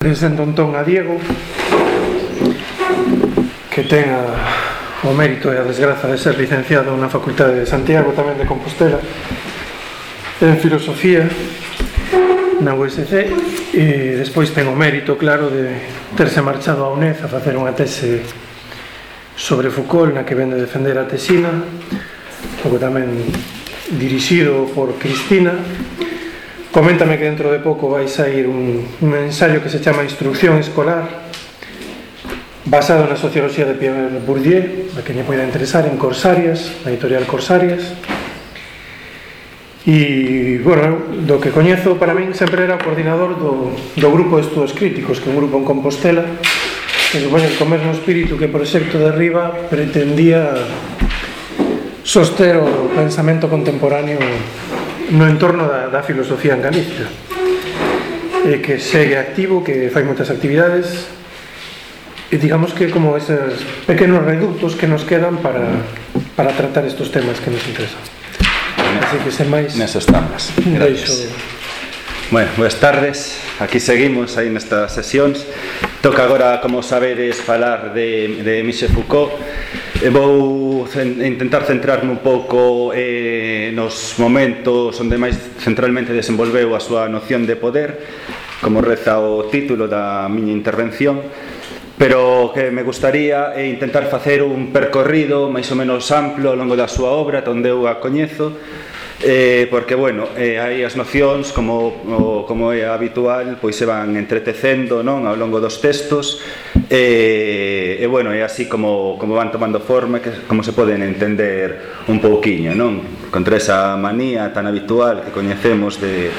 Presento entón a Diego, que ten o mérito e a desgraza de ser licenciado na Facultade de Santiago, tamén de Compostela, en Filosofía na USC, e despois ten o mérito, claro, de terse marchado a UNED a facer unha tese sobre Foucault, na que vende defender a tesina, logo tamén dirixido por Cristina. Coméntame que dentro de pouco vai sair un ensaio que se chama Instrucción Escolar, basado na socioloxía de Pierre Bourdieu, a que lle poida interesar, en Corsarias, na editorial Corsarias. E, bueno, do que coñezo, para min sempre era o coordinador do grupo de estudos críticos, que é un grupo en Compostela, que supoño que co mesmo espírito que o proxecto de Riva pretendía soster o pensamento contemporáneo no entorno da filosofía en Galicia, que segue activo, que fai moitas actividades, e digamos que como esos pequenos reductos que nos quedan para tratar estos temas que nos interesan. Así que sen máis, neso estamos. Bueno, boas tardes. Aquí seguimos aí nestas sesións. Toca agora, como sabedes, falar de Michel Foucault. Vou intentar centrarme un pouco nos momentos onde máis centralmente desenvolveu a súa noción de poder, como reza o título da miña intervención, pero que me gustaría intentar facer un percorrido máis ou menos amplo ao longo da súa obra, onde eu a coñezo, porque, bueno, aí as nocións, como é habitual, pois se van entretecendo, non, ao longo dos textos, e bueno, é así como van tomando forma, como se poden entender un pouquiño, non? Contra esa manía tan habitual que coñecemos de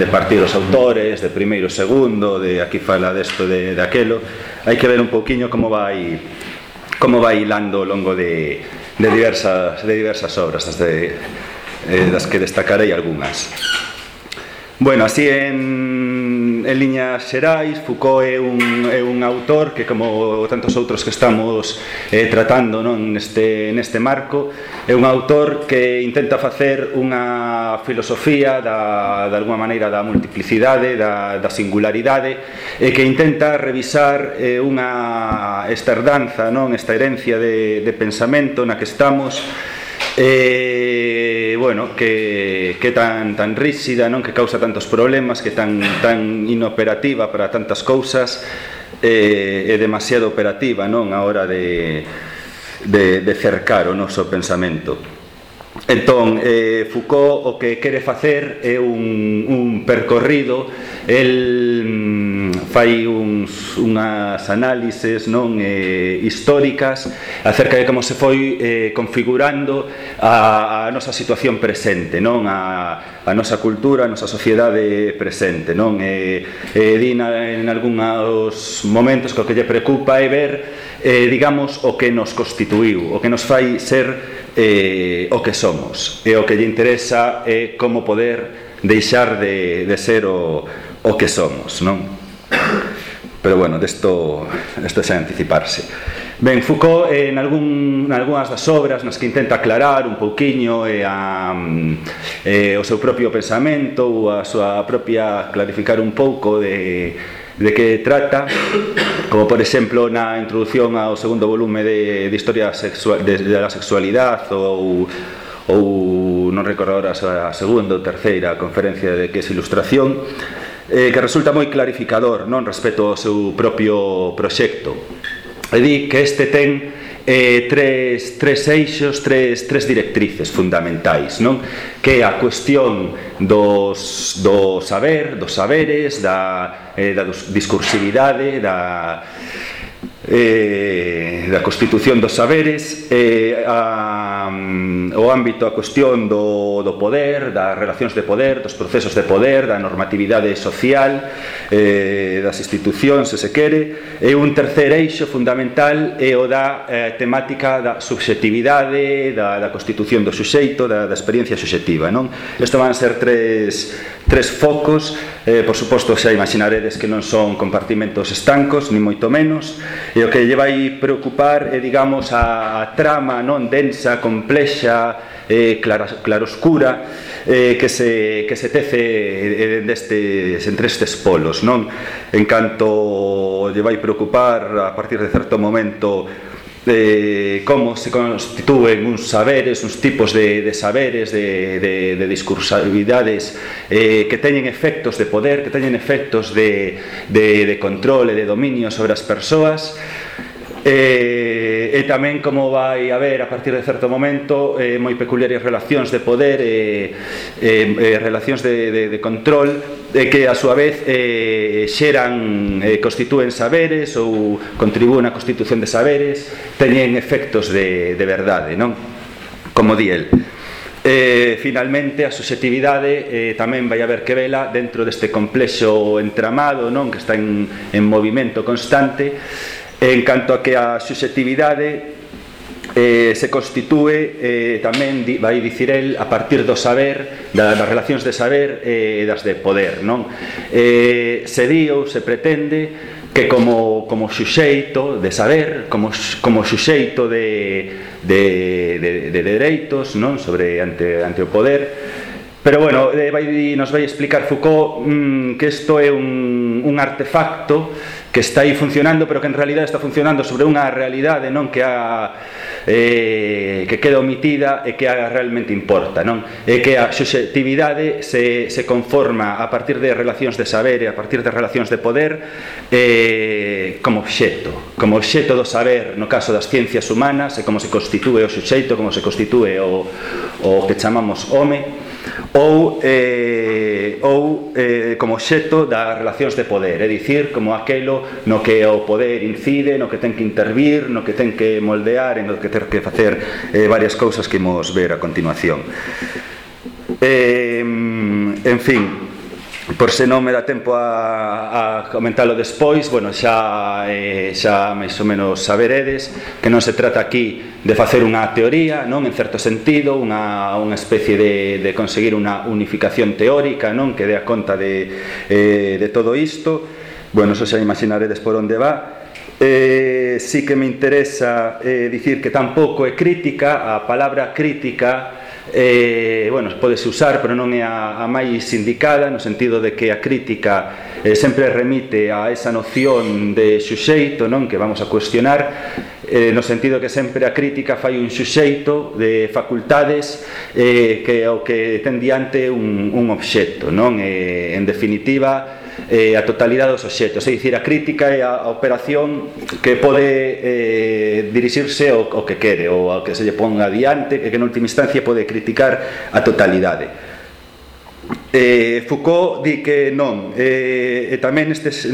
partir os autores, de primeiro, segundo, de aquí fala desto, de aquelo. Hai que ver un pouquiño como vai hilando ao longo de diversas obras, das que destacarei algunhas. Bueno, así en liñas xerais, Foucault é un autor que, como tantos outros que estamos tratando, non, neste marco, é un autor que intenta facer unha filosofía de alguma maneira da multiplicidade, da singularidade, e que intenta revisar esta herdanza, non, esta herencia de pensamento na que estamos, bueno, que tan rígida, non, que causa tantos problemas, que tan inoperativa para tantas cousas, e demasiado operativa, non, a hora de cercar o noso pensamento. Entón, Foucault o que quere facer é un percorrido. El fai unhas análises, non, históricas acerca de como se foi configurando a nosa situación presente, non, a nosa cultura, a nosa sociedade presente, non. Di en algúns momentos que o que lle preocupa é ver, digamos, o que nos constituiu, o que nos fai ser o que somos, e o que lle interesa é como poder deixar de ser o que somos, non? Pero, bueno, desto xa anticiparse. Ben, Foucault, en algunhas das obras nas que intenta aclarar un pouquiño o seu propio pensamento, ou a súa propia, clarificar un pouco de que trata, como por exemplo na introdución ao segundo volume de Historia de la Sexualidade, ou non recordo agora a segunda ou terceira conferencia de que é Ilustración, que resulta moi clarificador, non, respecto ao seu propio proxecto. E di que este ten tres eixos, tres directrices fundamentais, non? Que é a cuestión do saber, dos saberes, da discursividade, da constitución dos saberes, o ámbito, a cuestión do poder, das relacións de poder, dos procesos de poder, da normatividade social, das institucións, se quere. E un terceiro eixo fundamental é o da temática da subxectividade, da constitución do suxeito, da experiencia subxectiva, non? Isto van ser tres focos. Por suposto, xa imaginaredes que non son compartimentos estancos, ni moito menos, e o que lle vai preocupar é, digamos, a trama, non, densa, complexa, claroscura, que se tece entre estes polos, non? En canto lle vai preocupar a partir de certo momento como se constitúen uns saberes, uns tipos de saberes, de discursividades que teñen efectos de poder, que teñen efectos de control e de dominio sobre as persoas, e tamén como vai haber a partir de certo momento moi peculiares relacións de poder relacións de control que a súa vez constitúen saberes ou contribúen á constitución de saberes, teñen efectos de verdade, non? Como di el. Finalmente a subxetividade tamén vai haber que vela dentro deste complexo entramado, non? Que está en movimento constante, en canto a que a subxetividade se constitúe tamén, vai dicir el, a partir do saber, das relacións de saber e das de poder, non? Se di ou se pretende que como xuxeito de saber, como xuxeito de dereitos, non? Sobre ante o poder. Pero bueno, nos vai explicar Foucault que isto é un artefacto que está aí funcionando, pero que en realidad está funcionando sobre unha realidade, non? Que queda omitida e que realmente importa, non? E que a subxetividade se conforma a partir de relacións de saber e a partir de relacións de poder como obxeto do saber no caso das ciencias humanas, e como se constitúe o suxeito, como se constitúe o que chamamos home, ou como obxeto das relacións de poder, é dicir, como aquelo no que o poder incide, no que ten que intervir, no que ten que moldear, no que ten que facer varias cousas que imos ver a continuación. En fin, por se non me dá tempo a comentalo despois, bueno, xa máis ou menos saberedes que non se trata aquí de facer unha teoría, non? En certo sentido, unha especie de conseguir unha unificación teórica, non? Que dé a conta de todo isto. Bueno, eso xa imaginaredes por onde va. Sí que me interesa dicir que tampouco é crítica. A palabra crítica bueno, podese usar, pero non é a máis indicada, no sentido de que a crítica sempre remite a esa noción de xuxeito, non? Que vamos a cuestionar, no sentido que sempre a crítica fai un xuxeito de facultades que o que ten diante un obxecto, non? En definitiva, a totalidade dos obxectos, é dicir, a crítica é a operación que pode dirixirse ao que quere ou ao que se lle ponga adiante, e que en última instancia pode criticar a totalidade. Foucault di que non, e tamén nestes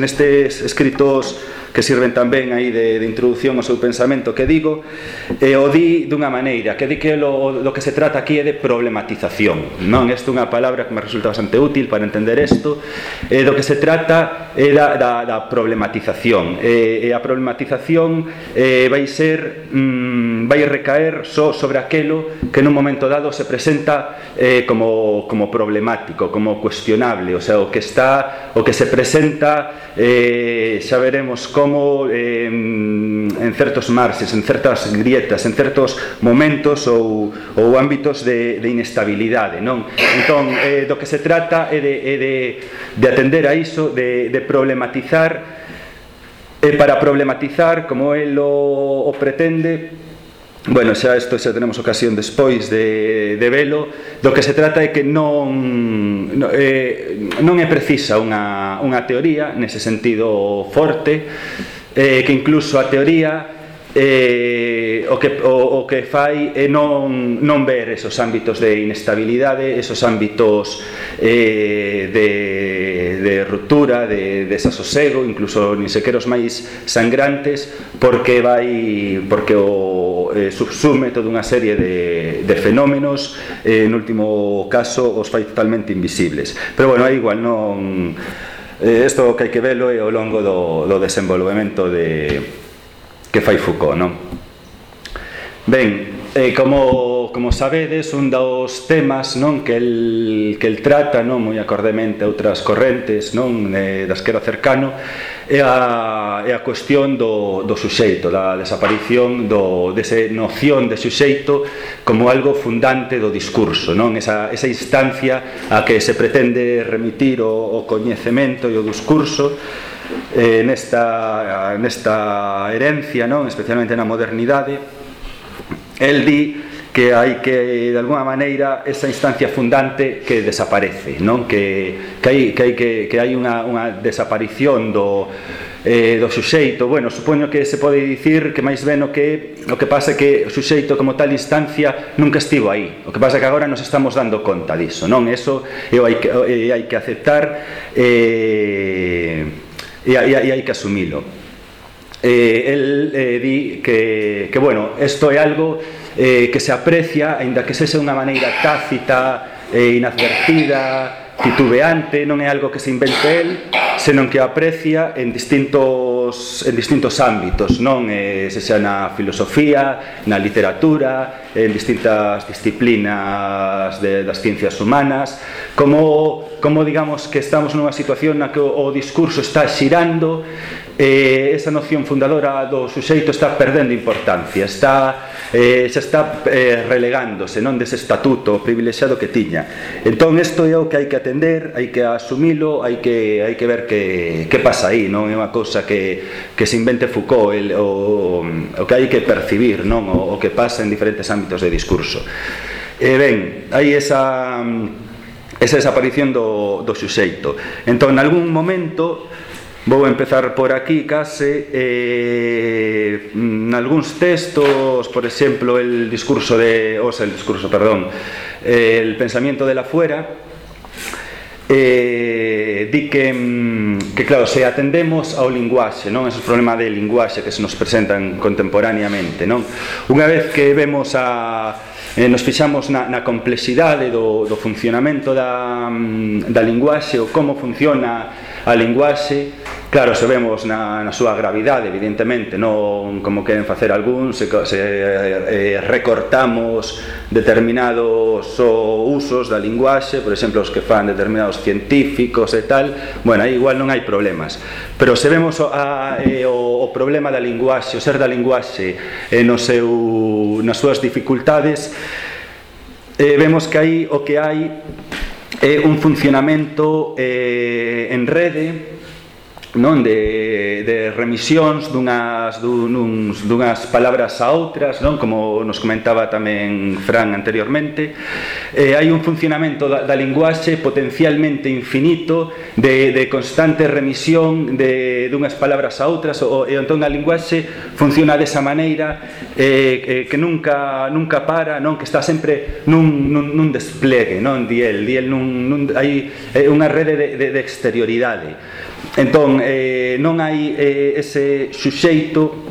escritos que sirven tamén aí de introducción ao seu pensamento que digo, o di dunha maneira, que di que do que se trata aquí é de problematización, non? Esta é unha palabra que me resulta bastante útil para entender isto. Do que se trata é da problematización, e a problematización vai recaer só sobre aquelo que nun momento dado se presenta como problemático, como cuestionable, o sea, o que se presenta, xa veremos como en certos marxes, en certas grietas, en certos momentos ou ámbitos de inestabilidade, non? Entón, do que se trata é de atender a iso, de problematizar, e para problematizar, como el o pretende. Bueno, xa tenemos ocasión despois de velo. Do que se trata é que non é precisa unha teoría nese sentido forte, que incluso a teoría o que fai é non ver esos ámbitos de inestabilidade, esos ámbitos de ruptura, de desasosego, incluso nin sequera os máis sangrantes, porque subsume toda unha serie de fenómenos, en último caso os fai totalmente invisibles. Pero bueno, é igual, non, isto que hai que velo é ao longo do desenvolvemento que fai Foucault, non? Ben, Como sabedes, un dos temas non que el trata, non moi acordemente a outras correntes, non da esquerda cercano, é a cuestión do suxeito, da desaparición desa noción de suxeito como algo fundante do discurso, non? Esa instancia a que se pretende remitir o coñecemento e o discurso nesta herencia, non? Especialmente na modernidade. El di que hai que, de alguna maneira, esa instancia fundante que desaparece, non? Que hai unha desaparición do suxeito. Bueno, supoño que se pode dicir que máis ben o que pasa é que o suxeito como tal instancia nunca estivo aí. O que pasa é que agora nos estamos dando conta diso, non? Eso hai que aceptar e hai que asumilo. El di que bueno, isto é algo que se aprecia, aínda que sexa unha maneira tácita, inadvertida, titubeante, non é algo que se invente el, senón que aprecia en distintos ámbitos, non? Sexa na filosofía, na literatura, en distintas disciplinas das ciencias humanas, como digamos que estamos nunha situación na que o discurso está xirando, esa noción fundadora do suxeito está perdendo importancia, xa está relegándose, non, dese estatuto privilexiado que tiña. Entón isto é o que hai que atender, hai que asumilo, hai que ver que pasa aí, non? É unha cousa que se invente Foucault, o que hai que percibir, non? O que pasa en diferentes ámbitos de discurso. Ben, hai esa desaparición do suxeito. Entón, en algún momento, vou empezar por aquí case, nalgúns textos, por exemplo, el pensamiento de la fuera, di que claro, se atendemos ao linguaxe, non? Esos problemas de linguaxe que se nos presentan contemporaneamente, non? Unha vez que vemos nos fixamos na complexidade do funcionamento da linguaxe, ou como funciona a linguaxe, claro, se vemos na súa gravidade, evidentemente, non como queren facer algúns, se recortamos determinados usos da linguaxe, por exemplo, os que fan determinados científicos e tal, bueno, aí igual non hai problemas. Pero se vemos o problema da linguaxe, o ser da linguaxe nas súas dificultades, vemos que aí o que hai é un funcionamento en rede, non, de remisións dunhas palabras a outras, non, como nos comentaba tamén Fran anteriormente. Hai un funcionamento da linguaxe potencialmente infinito, de constante remisión dunhas palabras a outras, e entón a linguaxe funciona desa maneira que nunca para, non, que está sempre nun despliegue, non, diel hai unha rede de exterioridade. Entón, non hai ese suxeito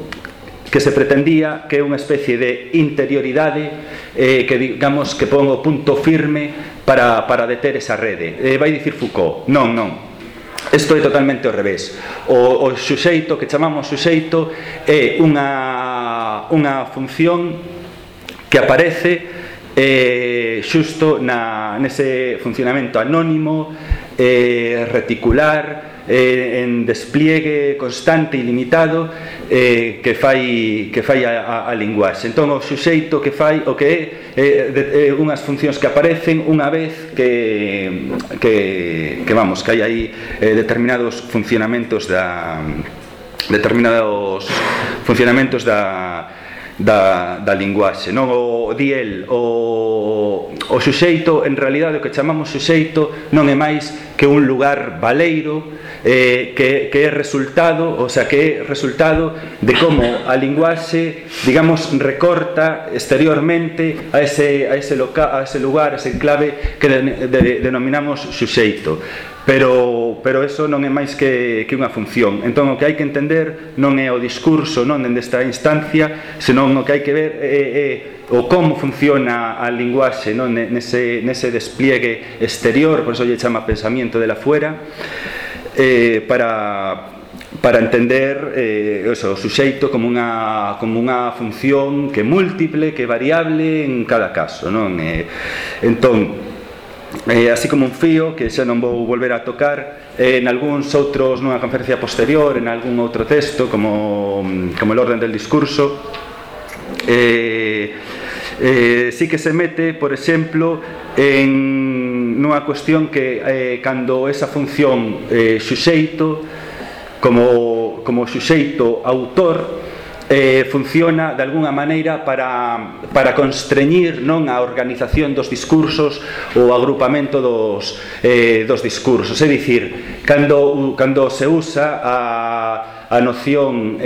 que se pretendía, que é unha especie de interioridade que digamos que pon o punto firme para deter esa rede. Vai dicir Foucault, non. Isto é totalmente ao revés. O suxeito, que chamamos suxeito, é unha función que aparece xusto nese funcionamento anónimo, reticular, en despliegue constante e limitado que fai a linguaxe. Entón o suxeito que fai o que é unhas funcións que aparecen unha vez que hai aí determinados funcionamentos da linguaxe, non? O suxeito, en realidade, o que chamamos suxeito non é máis que un lugar baleiro que é resultado, o sea, que é resultado de como a linguaxe, digamos, recorta exteriormente a ese lugar, a ese enclave que denominamos suxeito. Pero eso non é máis que unha función. Entón o que hai que entender non é o discurso, non dende esta instancia, senón o que hai que ver é o como funciona a linguaxe, non, nese despliegue exterior, por eso lle chama pensamiento de la fuera, para para entender o suxeito como unha función que é múltiple, que é variable en cada caso, non? Entón, así como un fío que xa non vou volver a tocar en algúns outros, nunha conferencia posterior, en algún outro texto como el orden del discurso, sí que se mete, por exemplo, en nunha cuestión que cando esa función suxeito como suxeito autor funciona de alguna maneira para constreñir, non, a organización dos discursos ou o agrupamento dos discursos. É dicir, cando se usa a noción,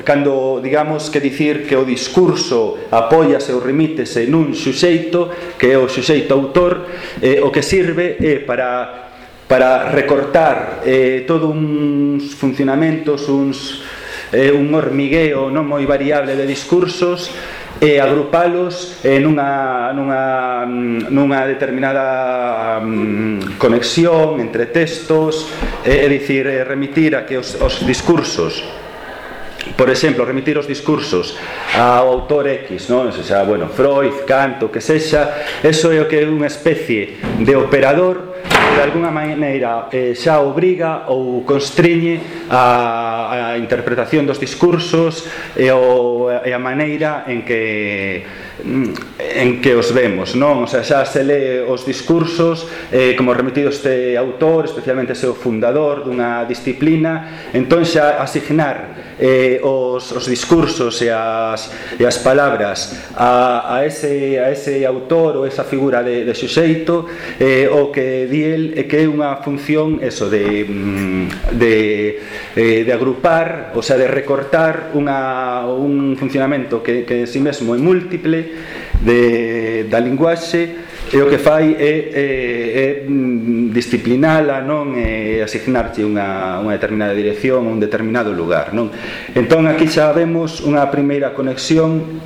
cando digamos que dicir que o discurso apóiase ou remítese nun suxeito, que é o suxeito autor, o que sirve é para recortar todo uns funcionamentos, un hormigueo non moi variable de discursos e agrupalos nunha determinada conexión entre textos, é dicir, remitir a que os discursos, por exemplo, remitir os discursos ao autor X, non? Xa, bueno, Freud, Kant, o que sexa, eso é o que é unha especie de operador que de alguna maneira xa obriga ou constriñe a interpretación dos discursos e a maneira en que os vemos, non? O sea, xa se lee os discursos como remitidos este autor, especialmente se o fundador dunha disciplina, entón xa asignar os discursos e as palabras a ese autor ou esa figura de suxeito, o que di el é que é unha función eso de agrupar, o sea, de recortar un funcionamento que en si mesmo é múltiple da linguaxe, e o que fai é disciplinala, non? E asignarche unha determinada dirección, un determinado lugar, non? Entón aquí xa vemos unha primeira conexión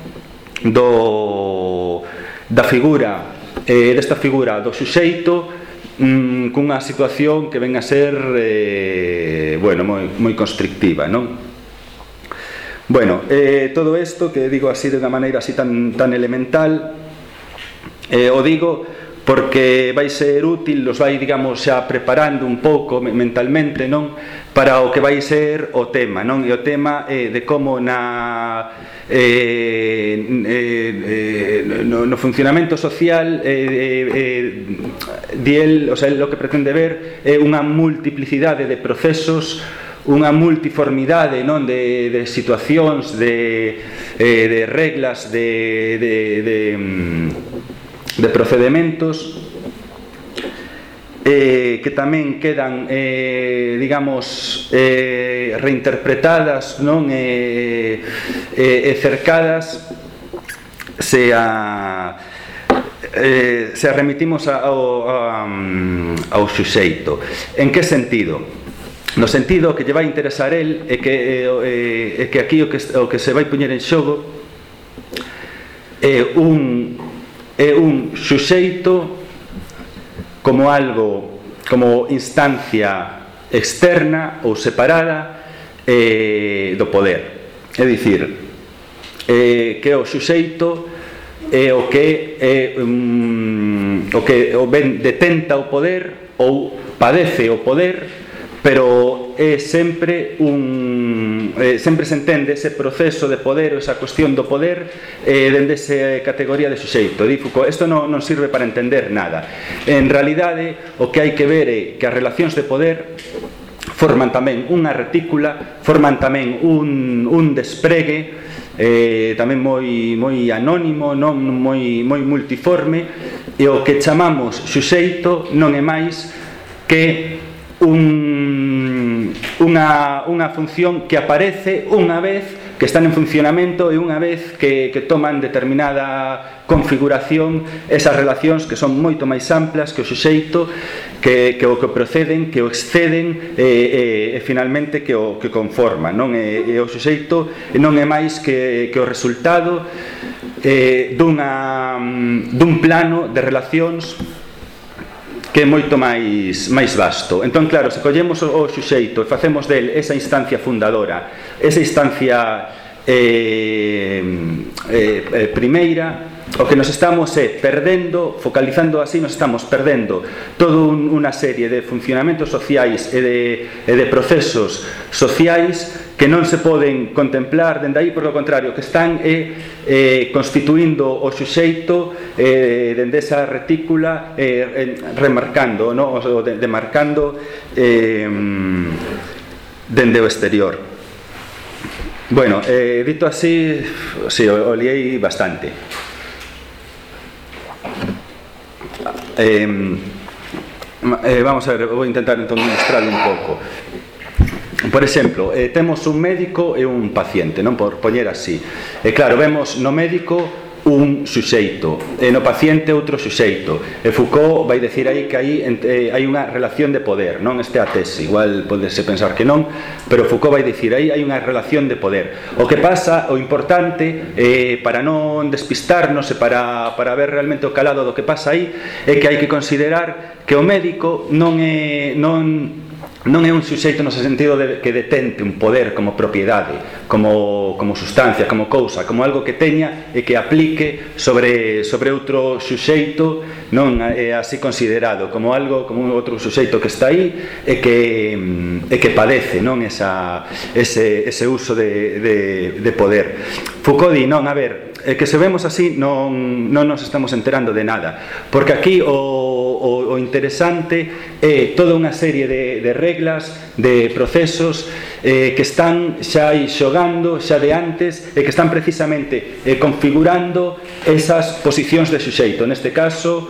desta figura do suxeito cunha situación que ven a ser moi constrictiva, non? Bueno, todo isto que digo así de unha maneira así tan elemental, o digo porque vai ser útil, os vai, digamos, xa preparando un pouco mentalmente, non? Para o que vai ser o tema, non? E o tema de como no funcionamento social o sea, lo que pretende ver é unha multiplicidade de procesos, unha multiformidade, non, de situacións, de reglas, de procedementos que tamén quedan digamos reinterpretadas, non, e cercadas se remitimos ao suxeito. En que sentido? No sentido que lle vai interesar el é que aquí o que se vai poñer en xogo é un suxeito como algo, como instancia externa ou separada do poder. É dicir, que o suxeito é o que detenta o poder ou padece o poder, pero é sempre sempre se entende ese proceso de poder ou esa cuestión do poder dende esa categoría de suxeito. Isto non sirve para entender nada. En realidade, o que hai que ver é que as relacións de poder forman tamén unha retícula, forman tamén un despregue tamén moi anónimo, non moi multiforme, e o que chamamos suxeito non é máis que unha función que aparece unha vez que están en funcionamento e unha vez que toman determinada configuración esas relacións que son moito máis amplas que o suxeito, que o que proceden, que o exceden e finalmente que o que conforman, non? E o suxeito non é máis que o resultado dun plano de relacións que é moito máis vasto. Entón, claro, se collemos o suxeito e facemos del esa instancia fundadora, esa instancia primeira, o que nos estamos perdendo, focalizando así, nos estamos perdendo toda unha serie de funcionamentos sociais e de procesos sociais que non se poden contemplar dende aí, por lo contrario, que están constituindo o suxeito dende esa retícula, remarcando, no? O demarcando dende o exterior. Bueno, dito así, sí, o liei bastante. Vamos a ver, vou intentar entón ilustrarlo un pouco. Por exemplo, temos un médico e un paciente, non, por poñer así. Claro, vemos no médico un suxeito e no paciente outro suxeito. Foucault vai decir aí que hai unha relación de poder, non? Este é a tese, igual podese pensar que non, pero Foucault vai decir aí hai unha relación de poder. O que pasa, o importante, para non despistarnos e para ver realmente o calado do que pasa aí, é que hai que considerar que o médico non é un suxeito no sentido de que detente un poder como propiedade, como sustancia, como cousa, como algo que teña e que aplique sobre outro suxeito, non é así considerado, como algo, como outro suxeito que está aí e que padece, non, ese uso de poder. Foucault di, non, a ver, que se vemos así non nos estamos enterando de nada, porque aquí o interesante é toda unha serie de reglas, de procesos que están xa aí xogando xa de antes e que están precisamente configurando esas posicións de suxeito, neste caso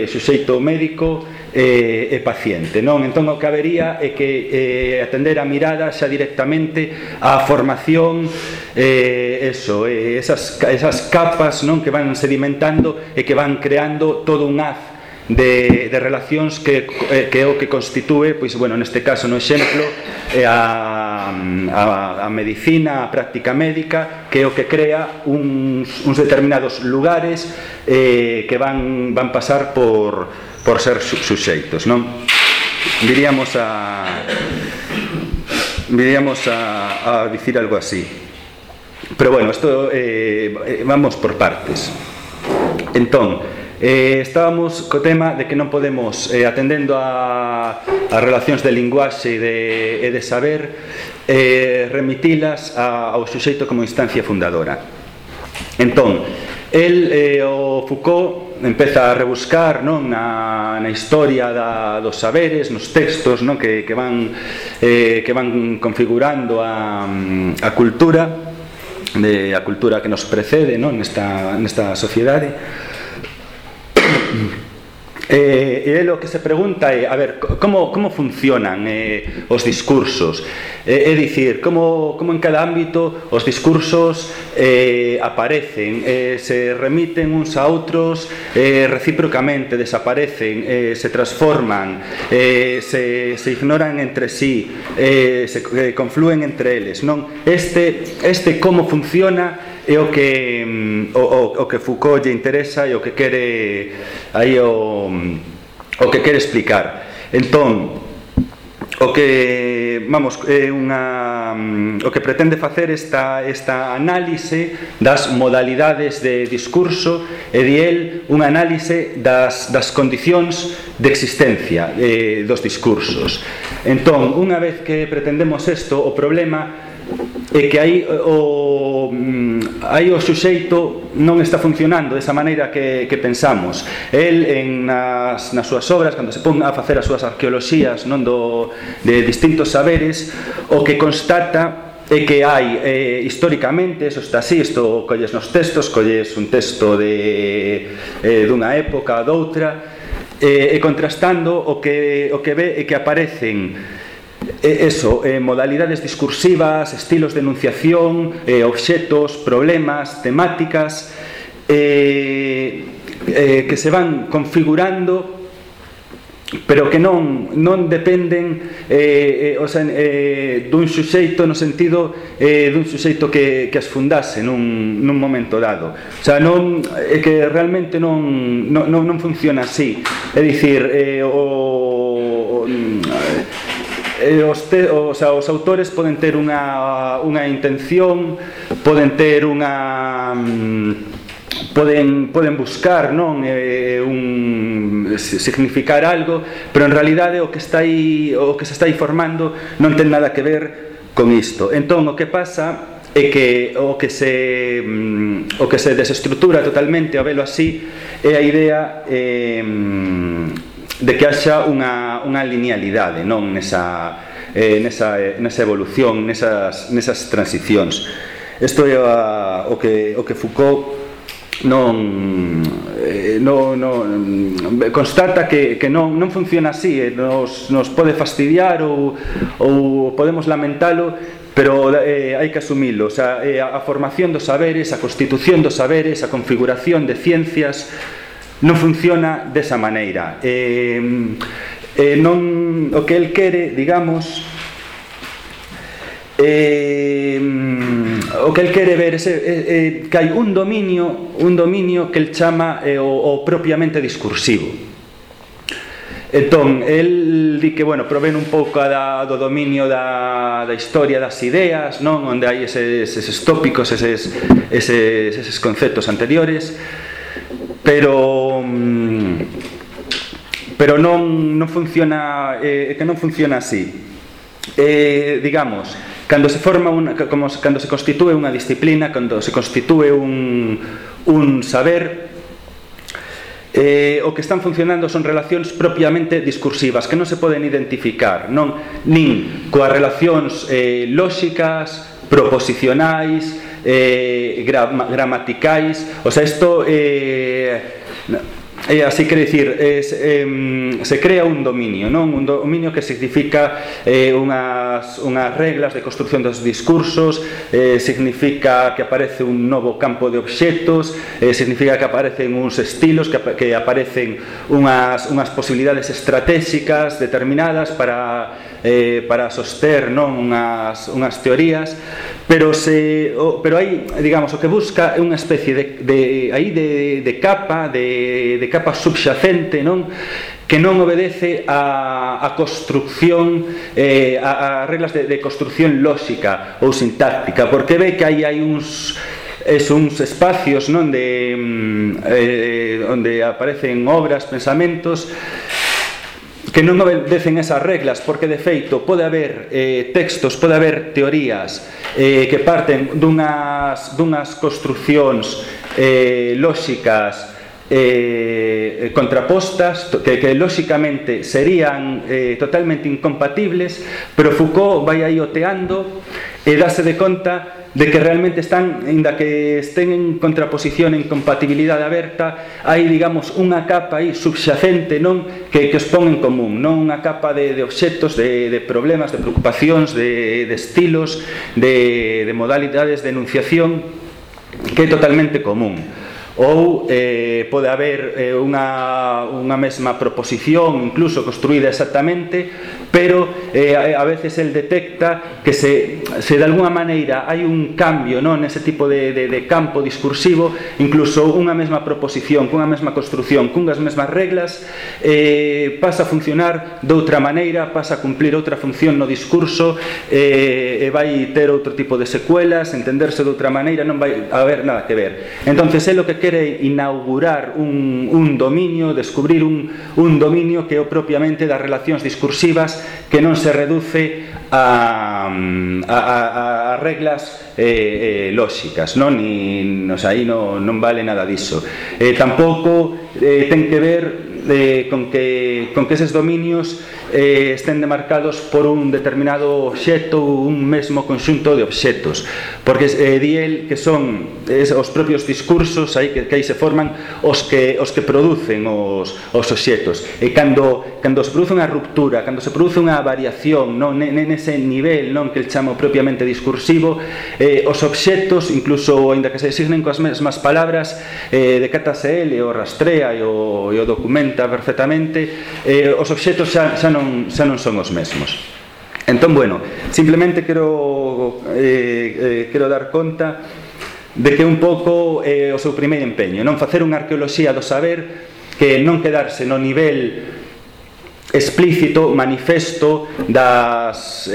suxeito médico e paciente, non? Entón o que habería é que atender a mirada xa directamente á formación, esas capas, non, que van sedimentando e que van creando todo un haz de relacións que é o que constitúe, pois, bueno, neste caso, no exemplo, a medicina, a práctica médica, que é o que crea uns determinados lugares que van pasar por ser suxeitos, non? Viríamos a dicir algo así. Pero bueno, isto vamos por partes. Entón, estábamos co tema de que non podemos, atendendo a relacións de linguaxe e de saber, remitilas ao suxeito como instancia fundadora. Entón, o Foucault empeza a rebuscar, non, na historia dos saberes, nos textos, non, que van configurando a cultura, a cultura que nos precede, non, nesta sociedade. E ele o que se pregunta é, a ver, como funcionan os discursos, é dicir, como en cada ámbito os discursos aparecen, se remiten uns a outros, recíprocamente desaparecen, se transforman, se ignoran entre sí, se confluen entre eles, non? Este como funciona é o que Foucault lle interesa e o que quere aí o que quere explicar. Entón, o que pretende facer esta análise das modalidades de discurso e di el unha análise das condicións de existencia dos discursos. Entón, unha vez que pretendemos isto, o problema é que aí o suxeito non está funcionando desa maneira que pensamos. El, nas súas obras, cando se pon a facer as súas arqueoloxías, non, de distintos saberes, o que constata é que hai históricamente, eso está así, isto colles nos textos, colles un texto dunha época, doutra, e contrastando o que ve é que aparecen modalidades discursivas, estilos de enunciación, obxetos, problemas, temáticas que se van configurando pero que non dependen dun suxeito no sentido dun suxeito que as fundase nun momento dado. O sea, é que realmente non funciona así. É dicir, os autores poden ter unha intención, poden ter unha... Poden buscar, non, significar algo, pero en realidade o que se está aí formando non ten nada que ver con isto. Entón, o que pasa é que o que se desestrutura totalmente, ao velo así, é a idea de que haxa unha linealidade, non, nesa evolución, nesas transicións. Isto é o que Foucault constata que non funciona así, nos pode fastidiar ou podemos lamentalo, pero hai que asumilo. O sea, a formación dos saberes, a constitución dos saberes, a configuración de ciencias non funciona desa maneira. O que el quere, digamos, o que el quere ver é que hai un dominio que el chama o propiamente discursivo. Entón, el di que, bueno, provén un pouco do dominio da historia das ideas, non, onde hai eses tópicos, eses conceptos anteriores, pero non funciona, que non funciona así. Digamos, cando se constitúe unha disciplina, cando se constitúe un saber, o que están funcionando son relacións propiamente discursivas que non se poden identificar, nin coas relacións lóxicas, proposicionais, gramaticais. O sea, isto así quere dicir, se crea un dominio, non? Un dominio que significa unhas reglas de construcción dos discursos, significa que aparece un novo campo de obxectos, significa que aparecen uns estilos, que aparecen unhas posibilidades estratégicas determinadas para soster, non, unhas teorías, pero aí, digamos, o que busca é unha especie de capa subxacente, non, que non obedece a construcción, a reglas de construcción lóxica ou sintáctica, porque ve que aí hai uns espacios, non, onde aparecen obras, pensamentos que non obedecen esas reglas, porque de feito pode haber textos, pode haber teorías que parten dunhas construccións lóxicas contrapostas, que lóxicamente serían totalmente incompatibles, pero Foucault vai aí oteando e dáse de conta de que realmente están, ainda que estén en contraposición, en compatibilidade aberta, hai, digamos, unha capa aí subxacente, non, que os pon en común, non, unha capa de obxectos, de problemas, de preocupacións, de estilos, de modalidades de enunciación, que é totalmente común. Ou pode haber unha mesma proposición, incluso construída exactamente, pero a veces el detecta que se de alguna maneira hai un cambio, non, nese tipo de campo discursivo, incluso unha mesma proposición, cunha mesma construcción, cunhas mesmas reglas, pasa a funcionar de outra maneira, pasa a cumplir outra función no discurso, e vai ter outro tipo de secuelas, entenderse de outra maneira, non vai haber nada que ver. Entonces, é o que quere inaugurar un dominio, descubrir un dominio que é o propiamente das relacións discursivas, que non se reduce a reglas lóxicas, non? Aí non vale nada diso. Tampouco ten que ver con que eses dominios estén demarcados por un determinado obxecto ou un mesmo conxunto de obxectos, porque di el que son os propios discursos aí que aí se forman os que producen os obxectos, e cando se produce unha ruptura, cando se produce unha variación, non, nese nivel, non, que el chama propiamente discursivo, os obxectos, incluso aínda que se designen coas mesmas palabras, decátase el e o rastrea e o documenta segmenta perfectamente, os obxetos xa non son os mesmos. Entón, bueno, simplemente quero dar conta de que un pouco o seu primeiro empeño, non facer unha arqueoloxía do saber que non quedarse no nivel explícito, manifesto das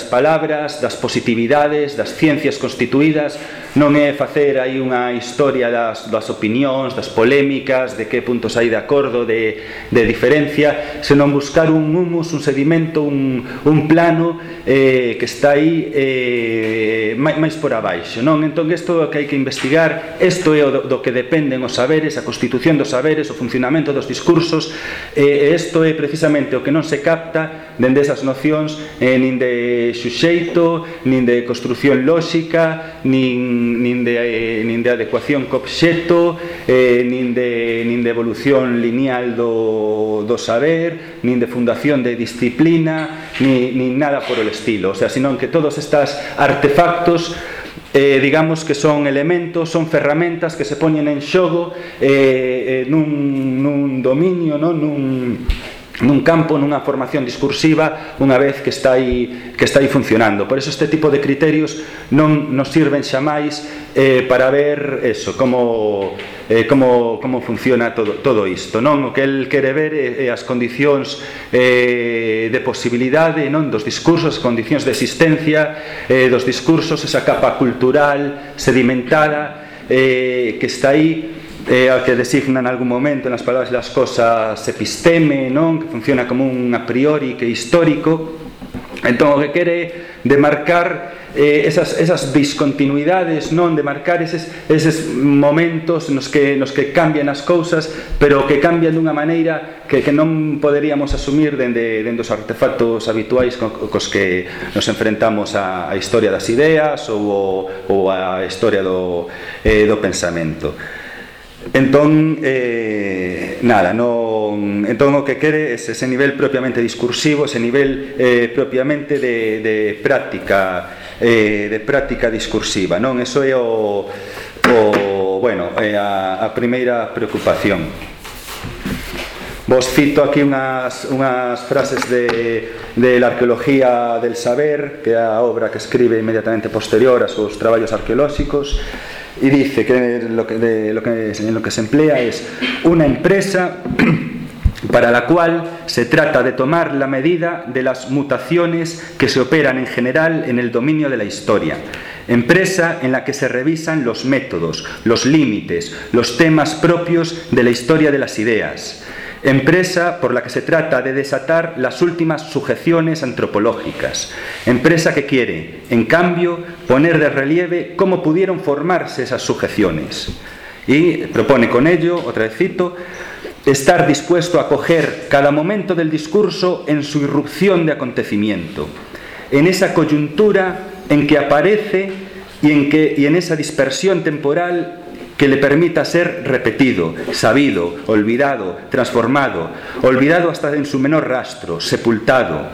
palabras, das positividades, das ciencias constituídas. Non é facer aí unha historia das opinións, das polémicas, de que puntos hai de acordo, de diferencia, senón buscar un humus, un sedimento, un plano que está aí máis por abaixo, non? Entón, isto é o que hai que investigar, isto é do que dependen os saberes, a constitución dos saberes, o funcionamento dos discursos, e isto é precisamente o que non se capta dende esas nocións nin de xuxeito, nin de construción lóxica, nin de adecuación co obxecto, nin de evolución lineal do saber, nin de fundación de disciplina, nin nada por el estilo. O sea, senón que todos estes artefactos digamos que son elementos, son ferramentas que se poñen en xogo nun dominio, nun campo, nunha formación discursiva, unha vez que está aí funcionando. Por eso este tipo de criterios non nos sirven xamais para ver eso, como funciona todo isto, non? O que el quere ver é as condicións de posibilidade, non? Dos discursos, as condicións de existencia dos discursos, esa capa cultural sedimentada que está aí, ao que designan en algún momento nas palabras das cosas episteme, non? Que funciona como un a priori que é histórico. Entón, o que quere demarcar esas discontinuidades, non? De marcar eses momentos nos que cambian as cousas, pero que cambian dunha maneira que non poderíamos asumir dende os artefactos habituais cos que nos enfrentamos á historia das ideas ou á historia do pensamento. Entón, entón o que quere é ese nivel propiamente discursivo, ese nivel propiamente de práctica discursiva, non? Eso é a primeira preocupación. Vos cito aquí unhas frases de la arqueología del saber, que é a obra que escribe inmediatamente posterior a sus traballos arqueolóxicos. Y dice que en lo que se emplea es una empresa para la cual se trata de tomar la medida de las mutaciones que se operan en general en el dominio de la historia. Empresa en la que se revisan los métodos, los límites, los temas propios de la historia de las ideas. Empresa por la que se trata de desatar las últimas sujeciones antropológicas. Empresa que quiere, en cambio, poner de relieve cómo pudieron formarse esas sujeciones. Y propone con ello, otra vez cito, estar dispuesto a coger cada momento del discurso en su irrupción de acontecimiento, en esa coyuntura en que aparece y en esa dispersión temporal que le permita ser repetido, sabido, olvidado, transformado, olvidado hasta en su menor rastro, sepultado.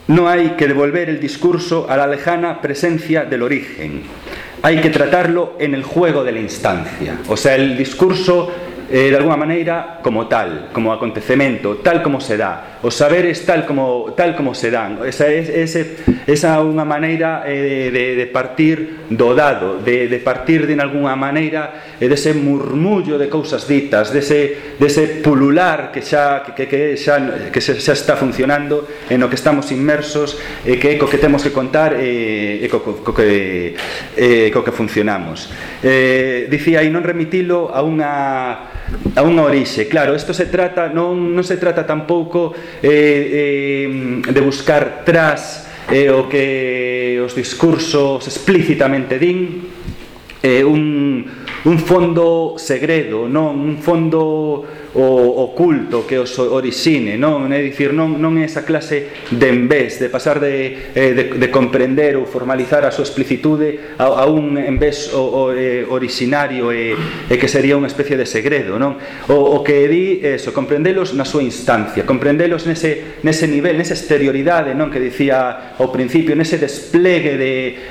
No hay que devolver el discurso a la lejana presencia del origen. Hay que tratarlo en el juego de la instancia. O sea, el discurso de alguna maneira como tal, como acontecemento, tal como se dá, os saberes tal como se dan. Esa unha maneira de partir do dado, de partir de alguna maneira dese murmullo de cousas ditas, dese pulular que xa está funcionando, en o que estamos inmersos, que é co que temos que contar e co que funcionamos. Dicía aí non remitilo a unha orixe. Claro, isto se trata non se trata tampouco de buscar tras o que os discursos explícitamente din, un fondo segredo, non un fondo oculto que os orixine, non? É dicir, non é esa clase de envés, de pasar de comprender ou formalizar a súa explicitude a un envés orixinario e que sería unha especie de segredo, non? O que di eso, comprendelos na súa instancia, comprendelos nese nivel, nesa exterioridade, non? Que dicía ao principio, nese desplegue de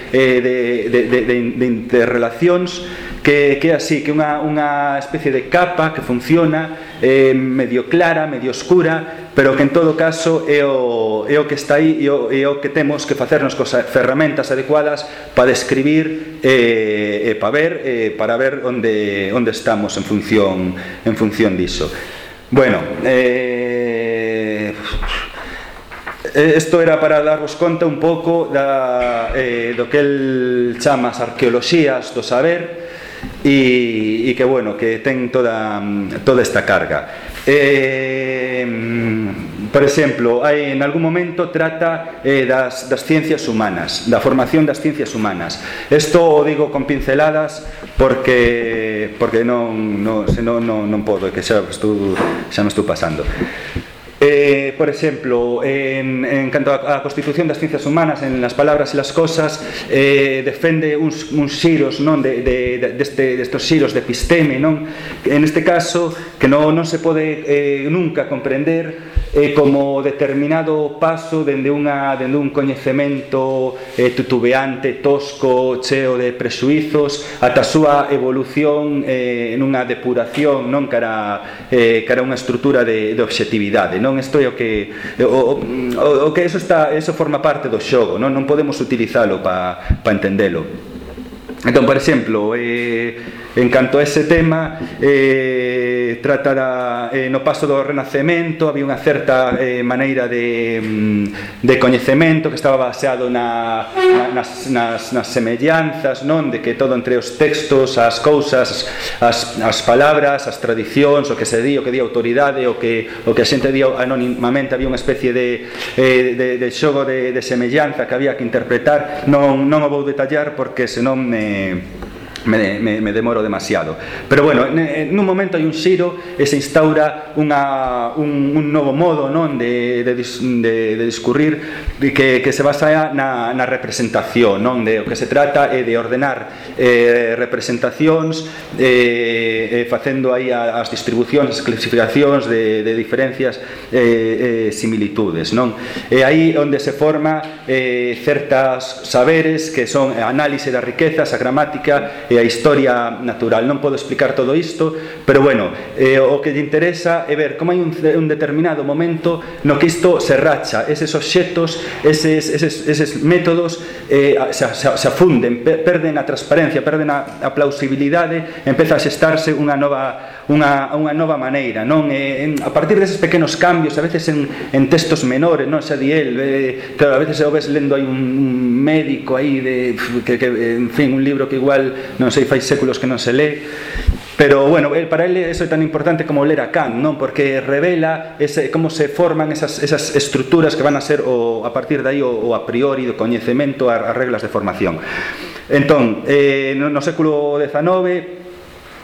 interrelacións que é así, que unha especie de capa que funciona medio clara, medio oscura, pero que en todo caso é o que está aí e o que temos que facernos cos ferramentas adecuadas para describir e para ver onde estamos en función diso. Bueno, isto era para darvos conta un pouco do que el chama as arqueoloxías do saber e que, bueno, que ten toda esta carga. Por exemplo, en algún momento trata das ciencias humanas, da formación das ciencias humanas. Isto o digo con pinceladas porque non podo, que xa me estou pasando. Por exemplo, en canto a Constitución das Ciencias Humanas, en Las Palabras e las Cosas, defende uns xiros, non, destes xiros de episteme, non? En este caso, que non se pode nunca comprender como determinado paso dende un coñecemento tutubeante, tosco, cheo de prexuizos, ata a súa evolución nunha depuración, non, cara unha estrutura de objetividade, non? Isto é o que eso forma parte do xogo, non podemos utilizalo para entendelo. Entón, por exemplo, en canto a ese tema, trata no paso do Renacemento, había unha certa maneira de coñecemento que estaba baseado nas semellanzas, non? De que todo entre os textos, as cousas, as palabras, as tradicións, o que se di, o que di a autoridade, o que a xente di anónimamente, había unha especie de xogo de semellanza que había que interpretar. Non o vou detallar porque senón me demoro demasiado, pero bueno, nun momento hai un xiro e se instaura un novo modo, non, de discurrir que se basa na representación, non? O que se trata é de ordenar representacións, facendo aí as distribucións, as clasificacións de diferencias, similitudes, non? É aí onde se forma certas saberes que son a análise das riquezas, a gramática e a historia natural. Non podo explicar todo isto, pero bueno, o que lle interesa é ver como hai un determinado momento no que isto se racha, eses obxectos, eses métodos se afunden, perden a transparencia, perden a plausibilidade, empeza a xestarse unha nova maneira, non? A partir deses pequenos cambios, a veces en textos menores, non? Xa di el, claro, a veces o ves lendo aí un médico aí que en fin, un libro que igual non sei, fai séculos que non se lee, pero bueno, para ele eso é tan importante como ler a Kant, non? Porque revela como se forman esas estruturas que van a ser a partir de aí o a priori do coñecemento, as reglas de formación. Entón, no século XIX,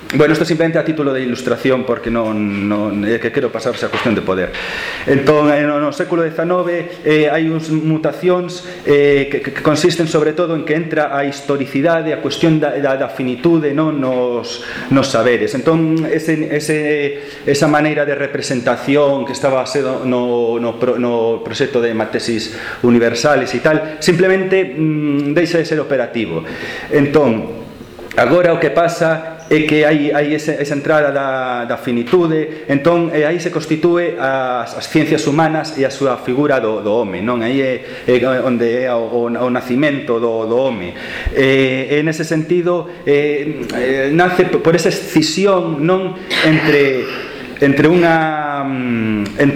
bueno, isto simplemente a título de ilustración porque non é que quero pasarse a cuestión de poder. Entón, no século XIX hai uns mutacións que consisten sobre todo en que entra a historicidade, a cuestión da finitude, non, nos saberes. Entón, esa maneira de representación que estaba sendo no proxecto de Matesis Universales e tal, simplemente deixa de ser operativo. Entón, agora o que pasa é que hai esa entrada da finitude, entón aí se constitúe as ciencias humanas e a súa figura do home, non? Aí é onde é o nacimento do home. En ese sentido, nace por esa escisión, non? Entre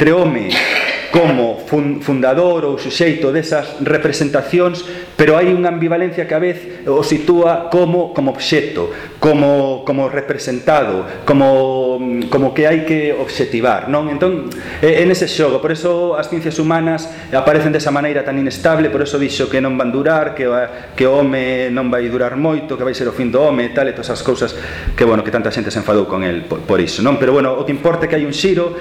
home como fundador ou suxeito desas representacións, pero hai unha ambivalencia que a vez o sitúa como obxecto, como representado, como que hai que obxectivar, non? Entón, en ese xogo, por eso as ciencias humanas aparecen desa maneira tan inestable, por eso dixo que non van durar, que o home non vai durar moito, que vai ser o fin do home e tal, e todas as cousas que, bueno, que tanta xente se enfadou con el por iso, non? Pero, bueno, o que importa é que hai un xiro,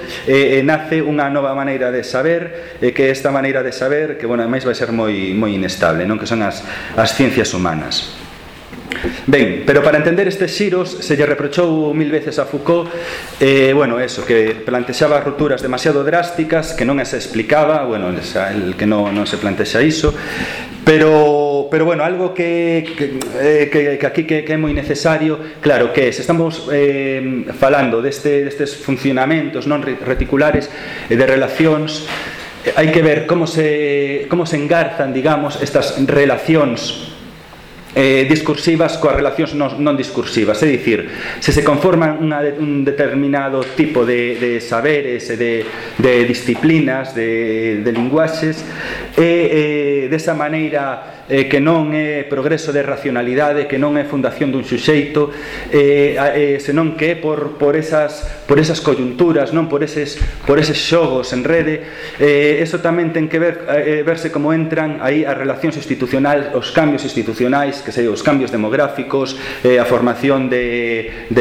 nace unha nova maneira de saber, que esta maneira de saber, que, bueno, ademais vai ser moi inestable, non? Que son as ciencias humanas. Ben, pero para entender estes xiros se lle reprochou 1000 veces a Foucault, bueno, eso, que plantexaba rupturas demasiado drásticas, que non se explicaba, bueno, el que non se plantexa iso, Pero bueno, algo que aquí que é moi necesario, claro, que se estamos falando destes funcionamentos non reticulares de relacións, hai que ver como se engarzan, digamos, estas relacións discursivas coas relacións non discursivas, é dicir, se conforman un determinado tipo de saberes e de disciplinas, de linguaxes, e desa maneira que non é progreso de racionalidade, que non é fundación dun suxeito, senón que é por esas coyunturas, non por eses xogos en rede. Eso tamén ten que verse como entran aí as relacións institucionais, os cambios institucionais, que sei, os cambios demográficos, a formación de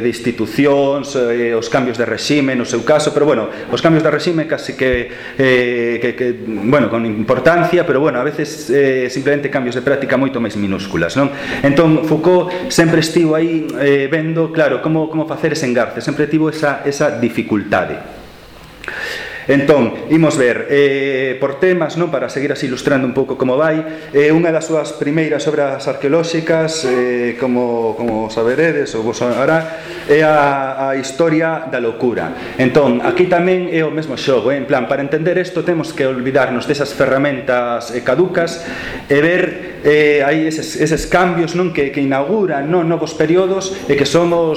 institucións, os cambios de regime no seu caso, pero bueno, os cambios de regime casi que bueno, con importancia, pero bueno, a veces simplemente cambios de práctica moito máis minúsculas, non? Entón, Foucault sempre estivo aí vendo, claro, como facer ese engarce, sempre tivo esa dificultade. Entón, imos ver por temas, non, para seguir así ilustrando un pouco como vai. Unha das súas primeiras obras arqueolóxicas, como saberedes ou vos sonará, é a Historia da loucura. Entón, aquí tamén é o mesmo xogo, en plan, para entender isto temos que olvidarnos desas ferramentas caducas e ver aí eses cambios, non, que inauguran, non, novos períodos e que son o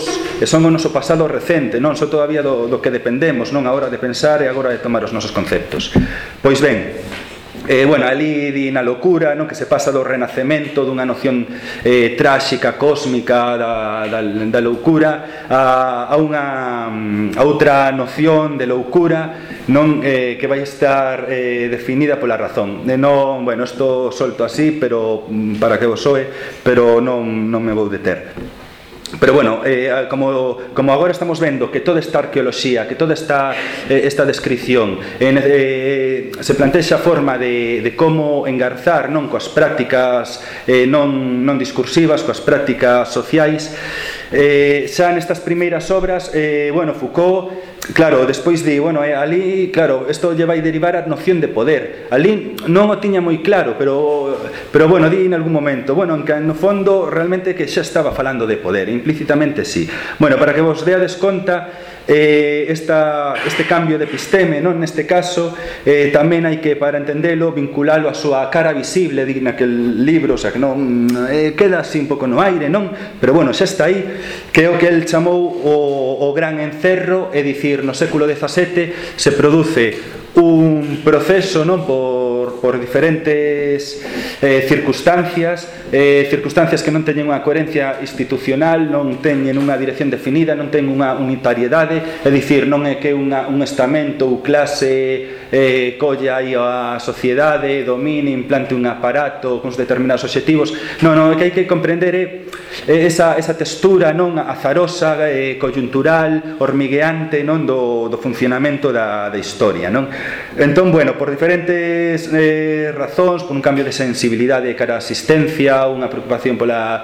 noso pasado recente, non, son todavía do que dependemos, non, a hora de pensar e agora de tomar os nosos conceptos. Pois ben, bueno, ali di na loucura, non, que se pasa do renacemento dunha noción tráxica, cósmica da loucura a outra noción de loucura, non, que vai estar definida pola razón. Non, bueno, isto solto así, pero para que vos soe, pero non me vou deter. Pero bueno, como agora estamos vendo que toda esta arqueoloxía, que toda esta descripción se plantexa a forma de como engarzar, non, coas prácticas non discursivas, coas prácticas sociais, xa nestas primeiras obras, bueno, Foucault, claro, despois di, bueno, ali, claro, isto lle vai derivar a noción de poder. Ali non o tiña moi claro, pero bueno, di en algún momento, bueno, en que no fondo realmente que xa estaba falando de poder, implícitamente sí. Bueno, para que vos deades conta, este cambio de episteme, non, neste caso, tamén hai que, para entendelo, vinculalo a súa cara visible, di naquel libro, o sea, que non queda así un pouco no aire, non? Pero bueno, xa está aí, que é o que el chamou o gran encerro, é dicir, no século XVII se produce un proceso, non, por diferentes circunstancias que non teñen unha coherencia institucional, non teñen unha dirección definida, non teñen unha unitariedade, é dicir, non é que un estamento ou clase colla aí a sociedade, domine, implante un aparato con determinados obxectivos. Non, é que hai que comprender esa textura, non, azarosa, coyuntural, hormigueante, non, do funcionamento da historia, non? Entón, bueno, por diferentes razóns, por un cambio de sensibilidade cara a asistencia, unha preocupación pola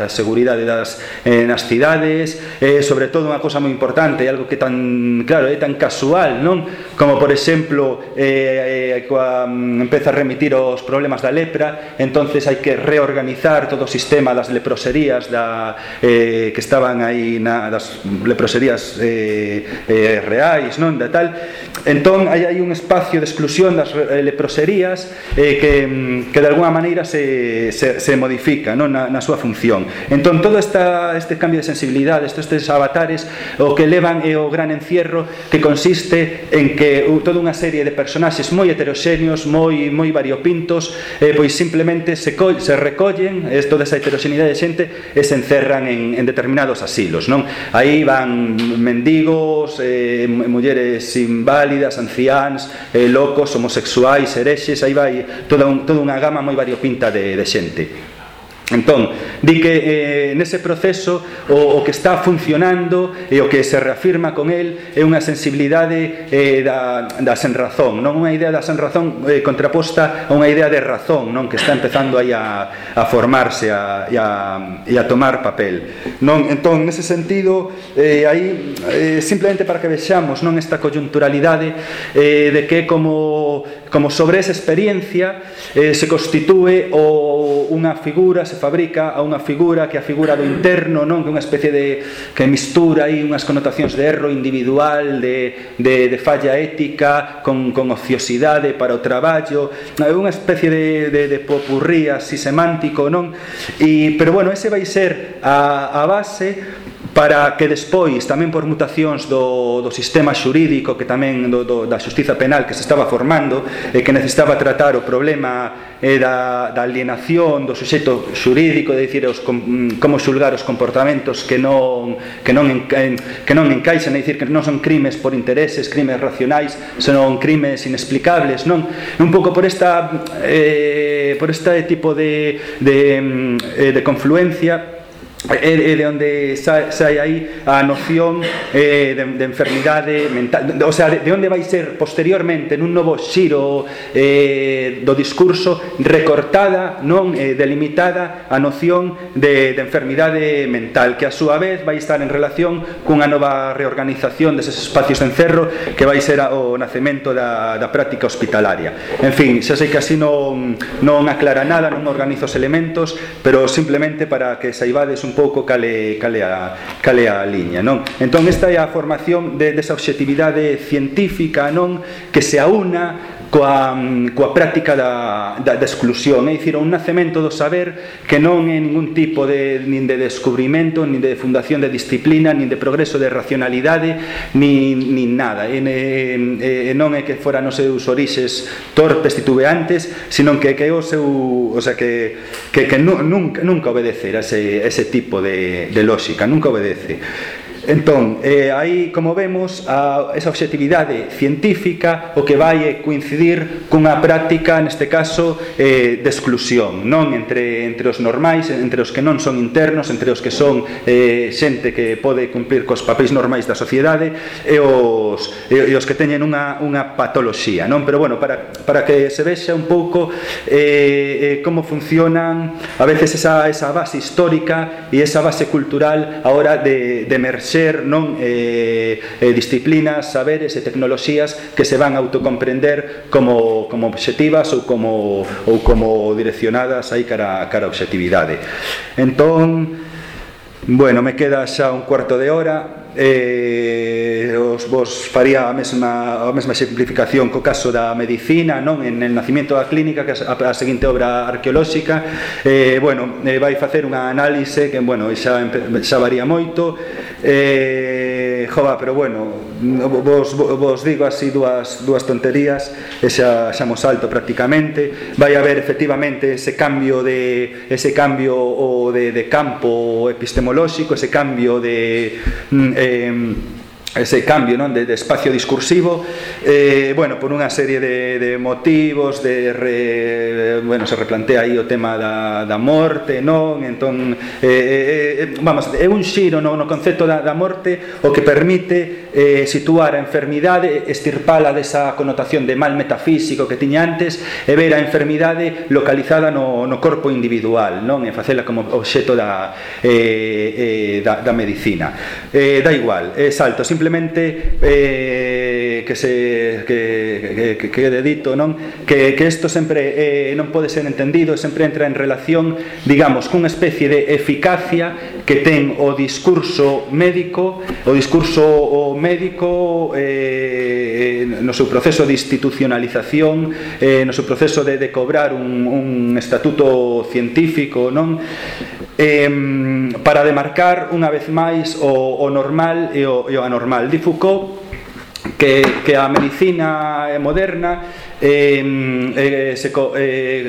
seguridade nas cidades, sobre todo unha cosa moi importante, algo que tan, claro, é tan casual, non? Como, por exemplo, empeza a remitir os problemas da lepra, entonces hai que reorganizar todo o sistema das leproserías que estaban aí, das leproserías reais, non? Da tal. Entón, hai un espacio de exclusión das leproserías que de alguna maneira se modifica, non, na súa función. Entón, todo este cambio de sensibilidade, estes avatares, o que levan é o gran encierro, que consiste en que toda unha serie de personaxes moi heteroxéneos, moi variopintos, pois simplemente se recollen toda esa heteroxeneidade de xente e se encerran en determinados asilos, non? Aí van mendigos, mulleres inválidas, anciáns, locos, homosexuais, herexes, aí vai toda unha gama moi variopinta de xente. Entón, di que nese proceso o que está funcionando e o que se reafirma con el é unha sensibilidade da senrazón, non, unha idea da senrazón contraposta a unha idea de razón, non, que está empezando aí a formarse e a tomar papel, non? Entón, nese sentido, aí simplemente para que vexamos, non, esta coyunturalidade de que como como sobre esa experiencia se constitúe unha figura, se fabrica a unha figura que é a figura do interno, non? Que é unha especie de que mistura aí unhas connotacións de erro individual, de falla ética con ociosidade para o traballo, unha especie de popurrí así semántico, non? Pero bueno, ese vai ser a base para que despois, tamén por mutacións do sistema xurídico, que tamén da xustiza penal que se estaba formando e que necesitaba tratar o problema da alienación do suxeito xurídico, de dicir, como xulgar os comportamentos que non encaixan, é dicir, que non son crimes por intereses, crimes racionais, senón crimes inexplicables, non? Un pouco por este tipo de confluencia é de onde sai aí a noción de enfermidade mental, o sea, de onde vai ser posteriormente nun novo xiro do discurso recortada, non delimitada a noción de enfermidade mental, que a súa vez vai estar en relación cunha nova reorganización deses espacios de encerro que vai ser o nacemento da práctica hospitalaria. En fin, xa sei que así non aclara nada, non organiza os elementos, pero simplemente para que saibades un pouco cale a liña, non? Entón esta é a formación desa objetividade científica, non? Que se aúna coa práctica da exclusión, é dicir, un nacemento do saber que non é ningún tipo nin de descubrimento, nin de fundación de disciplina, nin de progreso de racionalidade, nin nada, non é que foran os seus orixes torpes, titubeantes, sino que é o seu, o sea, que nunca obedecer a ese tipo de lógica, nunca obedece. Entón, aí, como vemos, esa objetividade científica o que vai coincidir cunha práctica, neste caso, de exclusión, non? Entre os normais, entre os que non son internos, entre os que son xente que pode cumplir cos papéis normais da sociedade e os que teñen unha patoloxía, non? Pero, bueno, para que se vexa un pouco como funcionan a veces esa base histórica e esa base cultural a hora de emerxer, non, disciplinas, saberes e tecnoloxías que se van a autocomprender como obxectivas ou como direccionadas aí cara a obxectividade. Entón, bueno, me queda xa un cuarto de hora. Vos faría a mesma exemplificación co caso da medicina, non? En el nacimiento da clínica, que é a seguinte obra arqueolóxica, bueno, vai facer unha análise que, bueno, xa varía moito, pero bueno, vos digo así dúas tonterías e xa mo salto prácticamente. Vai haber efectivamente ese cambio de campo epistemolóxico, ese cambio non, de espacio discursivo, bueno, por unha serie de motivos, bueno, se replantea aí o tema da morte, non? Entón, vamos, é un xiro no concepto da morte o que permite situar a enfermidade, estirpala desa connotación de mal metafísico que tiña antes e ver a enfermidade localizada no corpo individual, non? E facela como obxeto da medicina. Da igual, salto, simplemente que quede dito, non? Que isto sempre non pode ser entendido, sempre entra en relación, digamos, cunha especie de eficacia que ten o discurso médico no seu proceso de institucionalización, no seu proceso de cobrar un estatuto científico, non? Para demarcar unha vez máis o normal e o anormal. Di Foucault que a medicina moderna se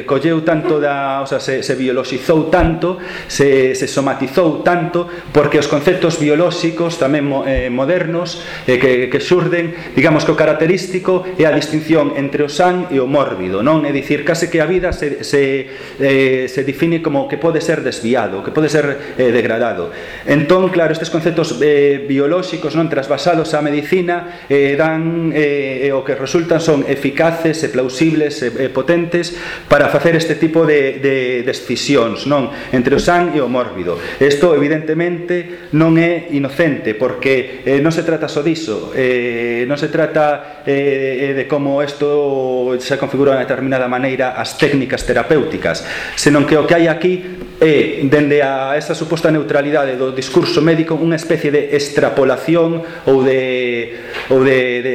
colleu tanto o sea, se biologizou tanto, se somatizou tanto, porque os conceptos biolóxicos tamén modernos que xurden, digamos que o característico é a distinción entre o san e o mórbido, non? É dicir, case que a vida se define como que pode ser desviado, que pode ser degradado. Entón, claro, estes conceptos biolóxicos, non, trasvasados á medicina, dan o que resultan son eficaces razonables e plausibles e potentes para facer este tipo de escisións, non? Entre o san e o mórbido. Isto, evidentemente, non é inocente, porque non se trata só diso, non se trata de como isto se configura de determinada maneira as técnicas terapéuticas, senón que o que hai aquí é, dende a esa suposta neutralidade do discurso médico, unha especie de extrapolación ou de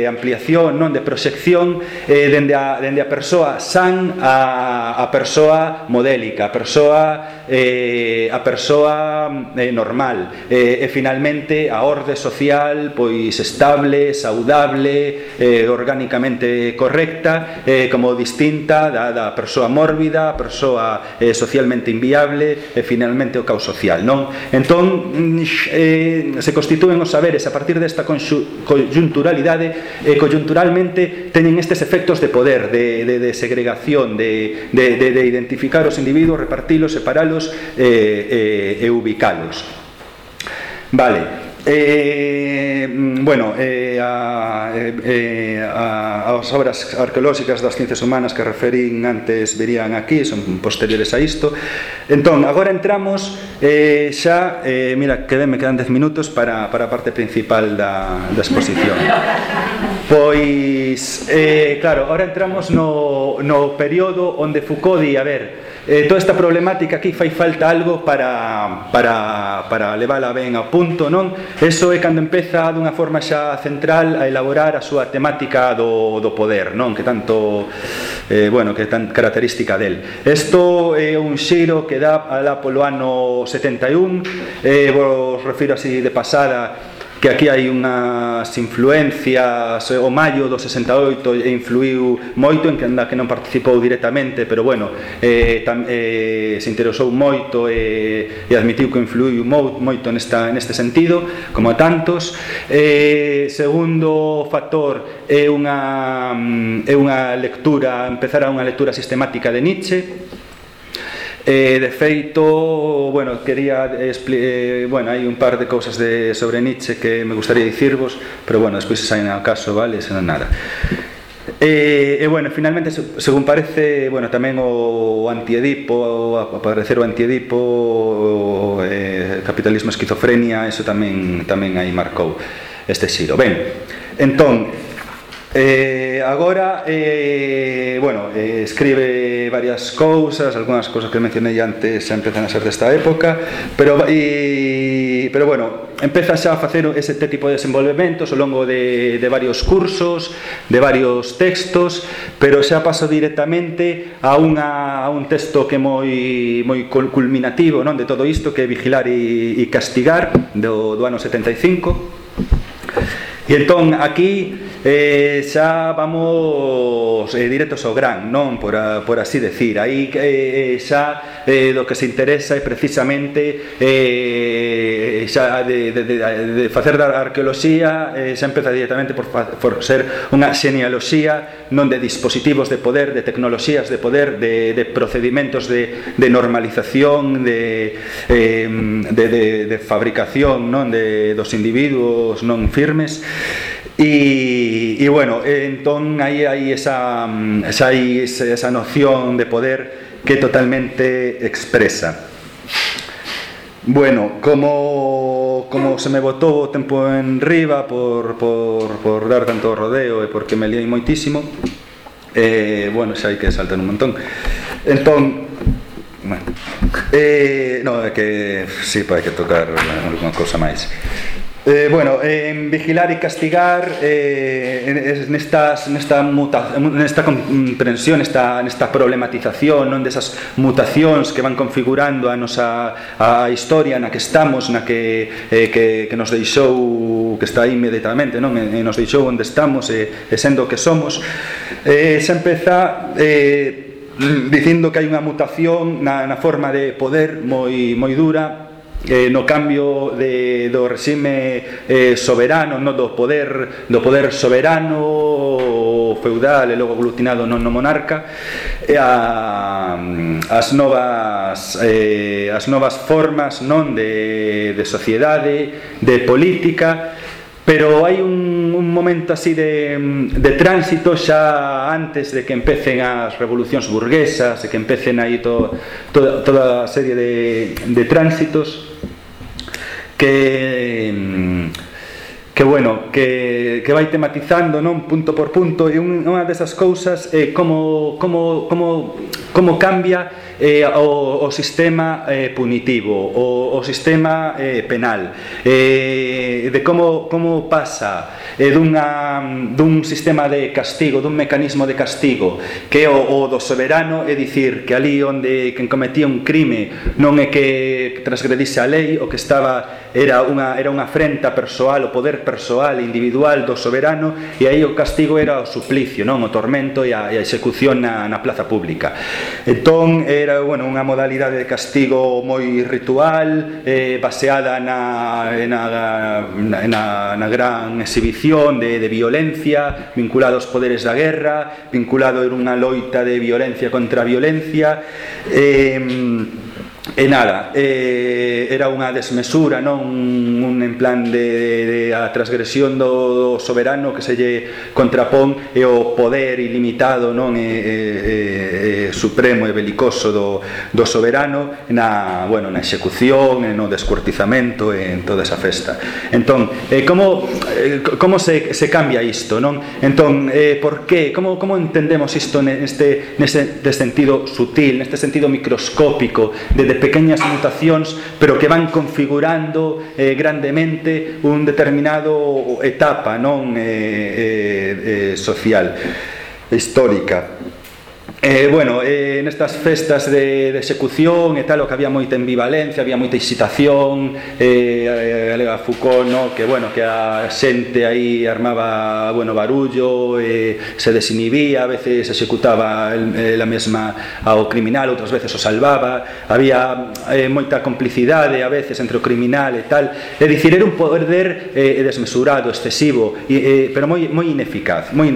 ampliación, non, de proxección, dende a persoa san a persoa modélica, a persoa normal, e finalmente a orde social pois estable, saudable, orgánicamente correcta, como distinta da persoa mórbida, a persoa socialmente inviable, e finalmente o caos social, non? Entón se constitúen os saberes a partir desta conjunturalidade, e conjunturalmente teñen estes efectos de poder, de segregación, de identificar os individuos, repartilos, separalos e ubicalos. Vale. As obras arqueolóxicas das ciencias humanas que referín antes virían aquí, son posteriores a isto. Entón, agora entramos xa, mira, que me quedan 10 minutos para a parte principal da exposición. Pois, claro, agora entramos no período onde Foucault di, a ver, toda esta problemática aquí fai falta algo para levala ben ao punto, non? Eso é cando empeza dunha forma xa central a elaborar a súa temática do poder, non? Que tanto, que é tan característica del. Isto é un xiro que dá alá polo ano 71, vos refiro así de pasada, que aquí hai unhas influencias, o maio do 68 influiu moito, en que non participou directamente, pero se interesou moito e admitiu que influiu moito neste sentido, como a tantos. Segundo factor é unha lectura, empezar a unha lectura sistemática de Nietzsche. De feito, quería hai un par de cousas sobre Nietzsche que me gustaría dicirvos, pero despois se saen ao caso, vale, senón nada. Finalmente, según parece, tamén o antiedipo, aparecer o antiedipo, capitalismo, esquizofrenia, eso tamén aí marcou este xiro. Ben, entón, agora escribe varias cousas, algunhas cousas que mencionei antes xa empezan a ser desta época, pero empeza xa a facer ese tipo de desenvolvementos ao longo de varios cursos, de varios textos, pero xa paso directamente a un texto que é moi culminativo, non, de todo isto, que é Vigilar e castigar, do ano 75. E entón aquí xa vamos directos ao gran, non? Por así decir. Aí xa do que se interesa é precisamente xa de facer da arqueoloxía, xa empeza directamente por ser unha xenealoxía, non de dispositivos de poder, de tecnoloxías de poder, de procedimentos de normalización, de fabricación, non, dos individuos non firmes. Entón aí hai esa noción de poder que totalmente expresa. Como se me botou o tempo en riba por dar tanto rodeo e porque me liei moitísimo, xa hai que saltar un montón. Entón, é que sí, hai que tocar alguna cousa máis. En Vigilar e castigar, nesta comprensión, nesta problematización, non, desas mutacións que van configurando a nosa historia na que estamos, na que nos deixou, que está aí inmediatamente, non, e nos deixou onde estamos e sendo o que somos, se empeza dicindo que hai unha mutación na forma de poder moi dura, no cambio do regime soberano, no, do poder soberano feudal e logo aglutinado no monarca, as novas formas, non, de sociedade, de política, pero hai un momento así de tránsito xa antes de que empecen as revolucións burguesas, de que empecen aí toda a serie de tránsitos que vai tematizando, non, punto por punto, e unha desas cousas é como cambia o sistema punitivo, o sistema penal, de como pasa dun sistema de castigo, dun mecanismo de castigo que é o do soberano, é dicir, que ali onde quen cometía un crime non é que transgredise a lei, o que estaba era unha afrenta persoal, o poder persoal individual do soberano, e aí o castigo era o suplicio, non, o tormento e a execución na plaza pública. Entón era unha modalidade de castigo moi ritual, baseada na gran exhibición de violencia, vinculado aos poderes da guerra, vinculado a unha loita de violencia contra a violencia, e nada, era unha desmesura, non, un en plan de a transgresión do soberano que se lle contrapón e o poder ilimitado, non, supremo e belicoso do soberano na execución, no descuartizamento, en toda esa festa. Entón, como se cambia isto, non? Entón, por que? Como entendemos isto neste sentido sutil, neste sentido microscópico, de pequeñas mutacións, pero que van configurando grandemente un determinado etapa, non, social, histórica. Nestas festas de execución e tal, o que había moita ambivalencia, había moita excitación, alega Foucault, no, que a xente aí armaba barullo, se desinhibía, a veces executaba la mesma ao criminal, outras veces o salvaba, había moita complicidade a veces entre o criminal e tal, é dicir, era un poder desmesurado, excesivo, pero moi ineficaz, non?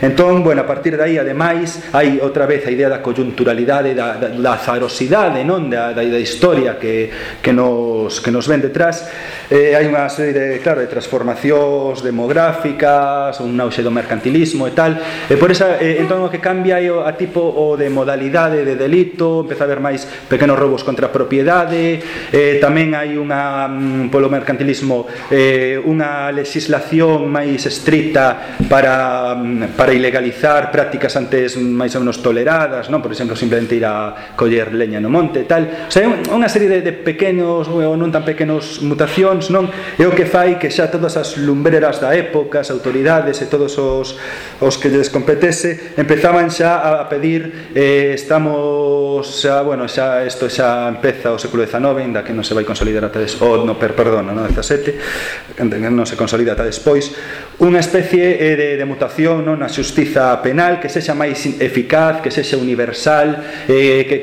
Entón, a partir de aí, ademais, hai outra vez a idea da coyunturalidade, da azarosidade, non, da historia que nos ven detrás. Hai unha serie de transformacións demográficas, un auxe do mercantilismo e tal, e por esa, entón o que cambia é a tipo o de modalidade de delito, empeza a haber máis pequenos roubos contra a propiedade, tamén hai polo mercantilismo unha legislación máis estricta para ilegalizar prácticas antes máis ou menos toleradas, non? Por exemplo, simplemente ir a coller leña no monte e tal. O sea, unha serie de pequenos ou non tan pequenos mutacións, non? É o que fai que xa todas as lumbreras da época, as autoridades e todos os que lles competese empezaban xa a pedir isto xa empeza o século XIX, ainda que non se vai consolidar ata non XVII, non se consolida ata despois, unha especie de mutación, non, na xustiza penal que sexa máis eficaz, que sexa universal, que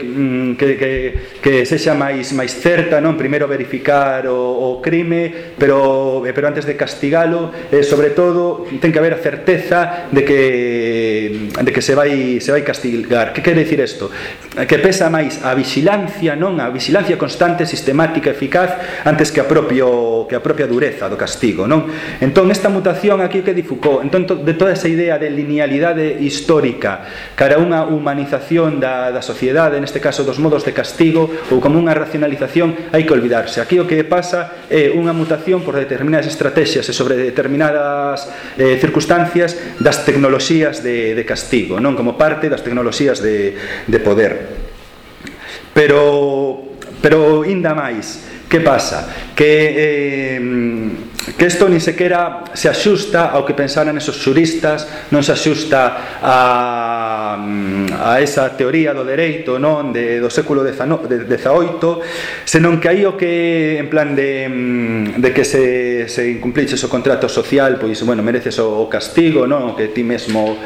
sexa máis certa, non? Primeiro verificar o crime, pero antes de castigalo, sobre todo ten que haber a certeza de que se vai castigar. Que quere dicir isto? Que pesa máis a vixilancia, non? A vixilancia constante, sistemática, eficaz, antes que a propia dureza do castigo, non? Entón, esta mutación aquí que di Foucault, entón, de toda esa idea de linealidade histórica cara a unha humanización da sociedade, neste caso dos modos de castigo, ou como unha racionalización, hai que olvidarse. Aquí o que pasa é unha mutación por determinadas estrategias e sobre determinadas circunstancias das tecnoloxías de castigo, non, como parte das tecnoloxías de poder. Pero ainda máis, que pasa? Que isto ni sequera se axusta ao que pensaran esos xuristas, non se axusta a esa teoría do dereito, non, do século XVIII, senón que aí o que, en plan de que se incumpliches o contrato social, pois, mereces o castigo, non, o que ti mesmo,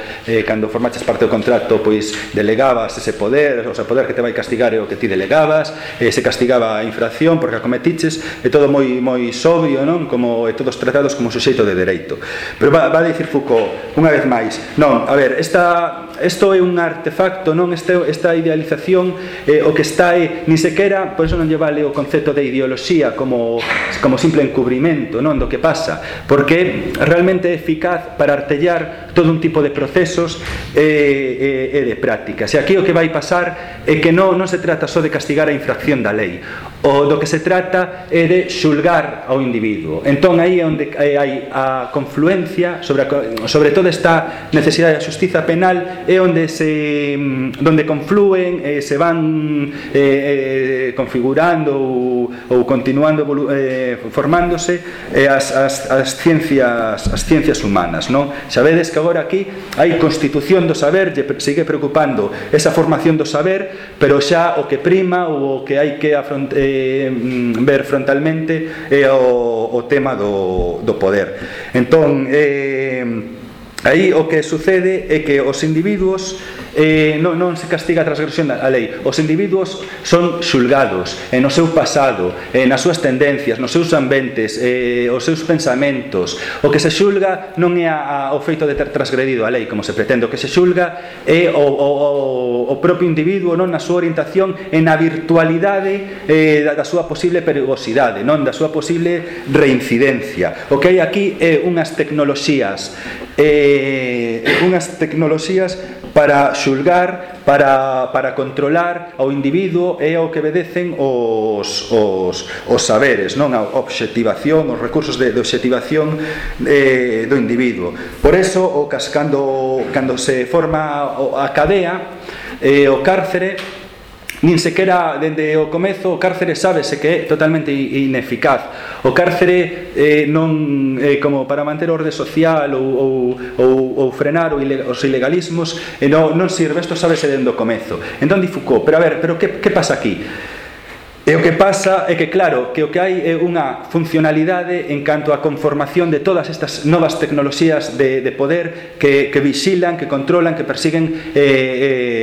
cando formaches parte do contrato, pois, delegabas ese poder, o poder que te vai castigar é o que ti delegabas, se castigaba a infracción porque a cometiches, é todo moi sobrio, non, como todos tratados como suxeito de dereito. Pero va a dicir Foucault, unha vez máis, non, a ver, esta isto é un artefacto, non? Esta idealización o que está ni sequera, por eso non lle vale o concepto de ideoloxía como simple encubrimento, non, do que pasa, porque realmente é eficaz para artellar todo un tipo de procesos e de prácticas. E aquí o que vai pasar é que non se trata só de castigar a infracción da lei, o do que se trata é de xulgar ao individuo. Entón aí é onde hai a confluencia sobre toda esta necesidade da xustiza penal, é onde confluen se van configurando ou continuando formándose as ciencias humanas, non? Sabedes que agora aquí hai constitución do saber, sigue preocupando esa formación do saber, pero xa o que prima ou o que hai que ver frontalmente é o tema do poder. Entón, aí o que sucede é que os individuos non se castiga a transgresión da lei. Os individuos son xulgados no seu pasado, nas súas tendencias, nos seus ambientes, os seus pensamentos. O que se xulga non é o feito de ter transgredido a lei, como se pretende. O que se xulga é o propio individuo, non, na súa orientación e na virtualidade da súa posible perigosidade, non, da súa posible reincidencia. O que hai aquí é unhas tecnoloxías para xulgar, para controlar ao individuo e ao que obedecen os saberes, non? A obxectivación, os recursos de obxectivación do individuo. Por eso, cando se forma a cadea, o cárcere, nin sequera dende o comezo o cárcere sábese que é totalmente ineficaz. O cárcere non como para manter orde social ou frenar os ilegalismos, non sirve. Isto sábese dende o comezo. Entón di Foucault, pero que pasa aquí? E o que pasa é que, claro, que o que hai é unha funcionalidade en canto á conformación de todas estas novas tecnoloxías de poder que vixilan, que controlan, que persiguen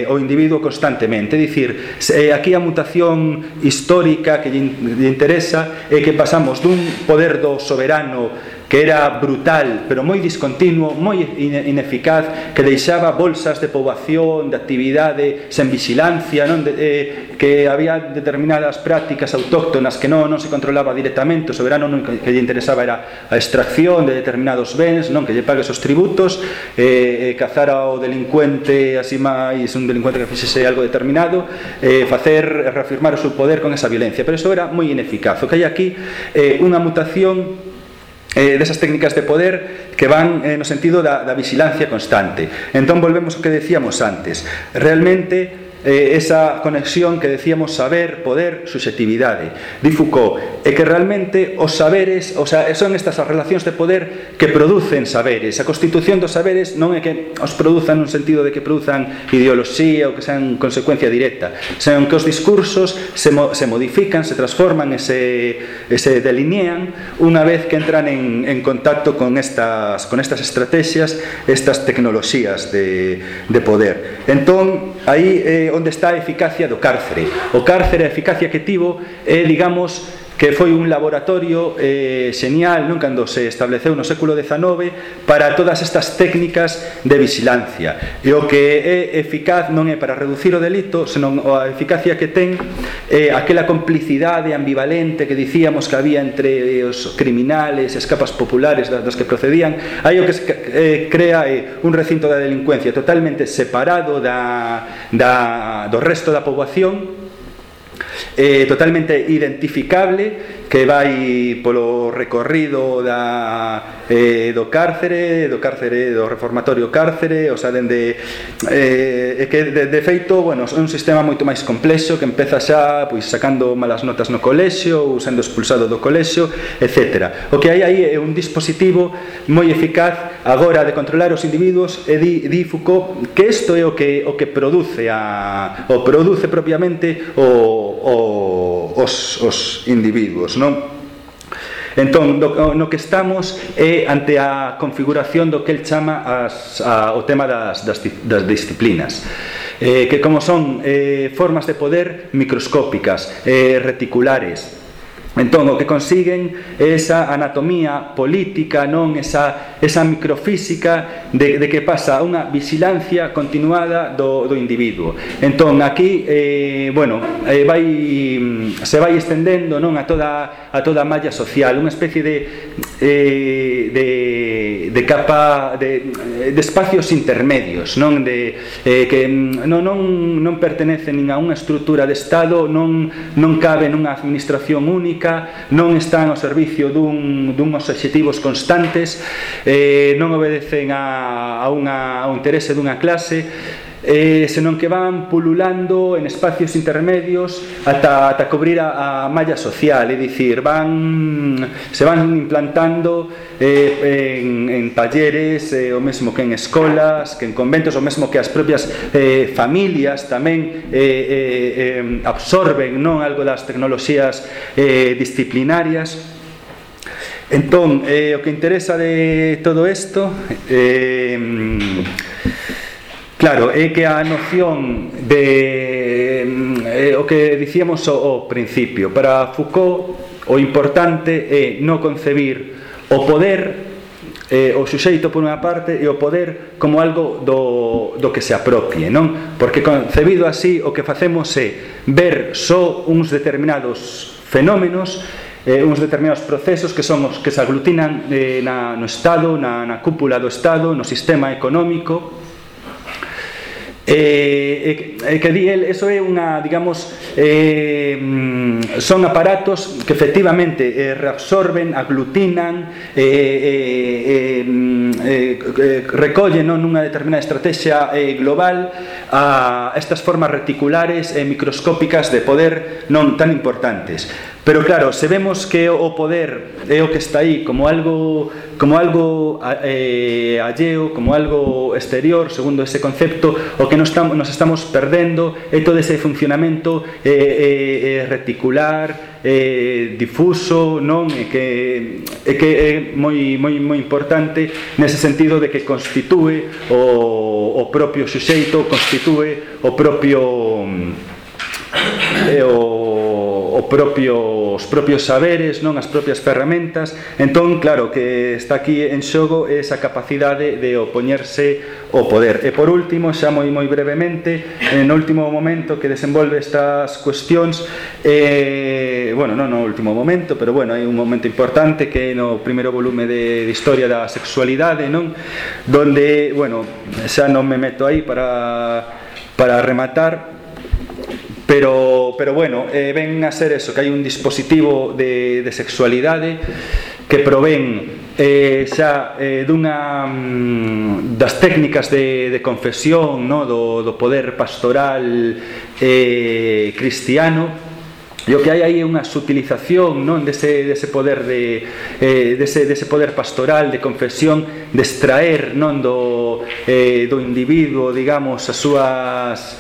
o individuo constantemente. É dicir, aquí a mutación histórica que lle interesa é que pasamos dun poder do soberano que era brutal, pero moi discontinuo, moi ineficaz, que deixaba bolsas de poboación, de actividade sen vixilancia, non? Que había determinadas prácticas autóctonas que non se controlaba directamente. O soberano que lle interesaba era a extracción de determinados bens, non, que lle pague esos tributos, cazar ao delincuente, así máis un delincuente que fixese algo determinado, reafirmar o seu poder con esa violencia. Pero iso era moi ineficaz. O que hai aquí é unha mutación desas técnicas de poder que van no sentido da vigilancia constante. Entón volvemos ao que decíamos antes. Realmente esa conexión que decíamos saber, poder, subxetividade. Di Foucault, é que realmente os saberes, o sea, son estas as relacións de poder que producen saberes. A constitución dos saberes non é que os produzan nun sentido de que produzan ideoloxía ou que sean consecuencia directa, senón que os discursos se modifican, se transforman e se delinean unha vez que entran en contacto con estas estrategias, estas tecnoloxías de poder. Entón, aí onde está a eficacia do cárcere. O cárcere, a eficacia que tivo é, digamos, que foi un laboratorio xenial, non, cando se estableceu no século XIX para todas estas técnicas de vigilancia. E o que é eficaz non é para reducir o delito, senón a eficacia que ten aquela complicidade ambivalente que dicíamos que había entre os criminales e as capas populares das que procedían. Aí o que se crea é un recinto da delincuencia totalmente separado do resto da poboación, totalmente identificable, que vai polo recorrido do cárcere, do reformatorio cárcere, o sea, dende que de feito, bueno, é un sistema moito máis complexo que empeza xa pois sacando malas notas no colexio ou sendo expulsado do colexio, etc. O que hai aí é un dispositivo moi eficaz agora de controlar os individuos, e di Foucault que isto é o que produce propiamente os individuos, non? Entón, no que estamos é ante a configuración do que el chama o tema das disciplinas, que como son formas de poder microscópicas, reticulares, Entón, o que consiguen é esa anatomía política, non esa microfísica de que pasa unha vigilancia continuada do individuo. Entón, aquí, se vai estendendo, non, a toda a malla social, unha especie de capa de espacios intermedios, non, que non pertenecen nin a unha estrutura de Estado, non cabe nunha administración única, non están ao servicio duns obxectivos constantes, non obedecen ao interese dunha clase, senón que van pululando en espacios intermedios ata cubrir a malla social, é dicir, se van implantando en talleres, o mesmo que en escolas, que en conventos, o mesmo que as propias familias tamén absorben, non, algo das tecnoloxías disciplinarias. Entón, o que interesa de todo isto claro, é que a noción o que dicíamos ao principio, para Foucault o importante é non concebir o poder, o suxeito por unha parte, e o poder como algo do que se apropie, non? Porque concebido así, o que facemos é ver só uns determinados fenómenos, uns determinados procesos que son os que se aglutinan no Estado, na cúpula do Estado, no sistema económico. Que di el, eso é unha, digamos, son aparatos que efectivamente reabsorben, aglutinan, recollen, non, nunha determinada estrategia global a estas formas reticulares e microscópicas de poder non tan importantes. Pero claro, se vemos que o poder é o que está aí como algo alleo, como algo exterior, segundo ese concepto, o que nos estamos perdendo é todo ese funcionamento reticular, difuso, non? E que é moi importante nese sentido de que constitúe o propio suxeito, constitúe os propios saberes, non, as propias ferramentas. Entón, claro, que está aquí en xogo esa capacidade de opoñerse ao poder. E por último, xa moi brevemente, no último momento que desenvolve estas cuestións, non no último momento, pero hai un momento importante que é no primeiro volume de Historia da Sexualidade, non, donde, xa non me meto aí para rematar, pero ven a ser eso, que hai un dispositivo de sexualidade que provén xa das técnicas de confesión, no, do poder pastoral cristiano. E o que hai aí é unha sutilización, non, dese poder dese poder pastoral de confesión, de extraer, non, do individuo, digamos, as súas,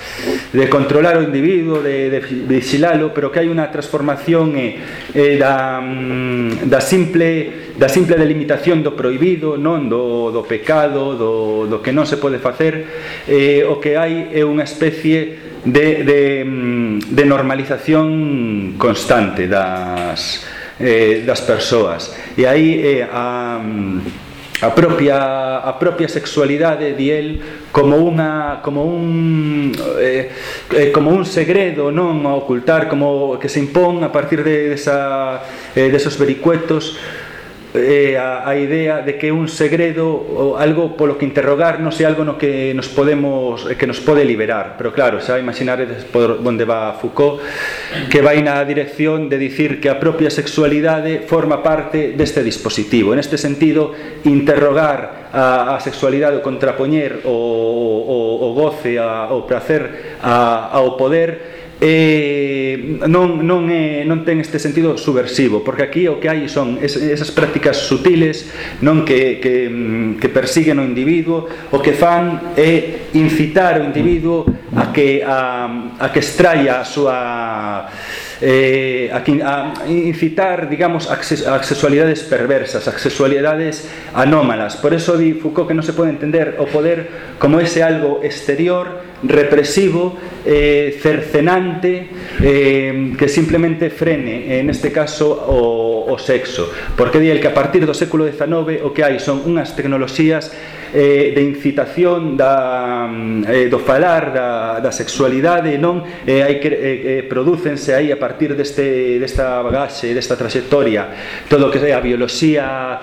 de controlar o individuo, de vigilalo, pero que hai unha transformación da simple delimitación do prohibido, non, do pecado, do que non se pode facer. O que hai é unha especie de normalización constante das persoas, e aí a propia sexualidade, di el, como un segredo, non, a ocultar, como que se impón a partir desos vericuetos, a idea de que un segredo ou algo polo que interrogar non sei algo no que nos pode liberar. Pero claro, xa imaginaredes por onde va Foucault, que vai na dirección de dicir que a propia sexualidade forma parte deste dispositivo. En este sentido, interrogar a sexualidade, o contrapoñer o goce, o prazer ao poder, non ten este sentido subversivo, porque aquí o que hai son esas prácticas sutiles, non, que persiguen o individuo. O que fan é incitar o individuo a que extraia a súa a incitar, digamos, a sexualidades perversas, a sexualidades anómalas. Por eso di Foucault que non se pode entender o poder como ese algo exterior, represivo, cercenante, que simplemente frene, en este caso, o sexo. Porque di el que a partir do século XIX o que hai son unhas tecnoloxías de incitación do falar da sexualidade, non? Hai que prodúcense aí a partir desta bagaxe, desta trayectoria, todo o que é a bioloxía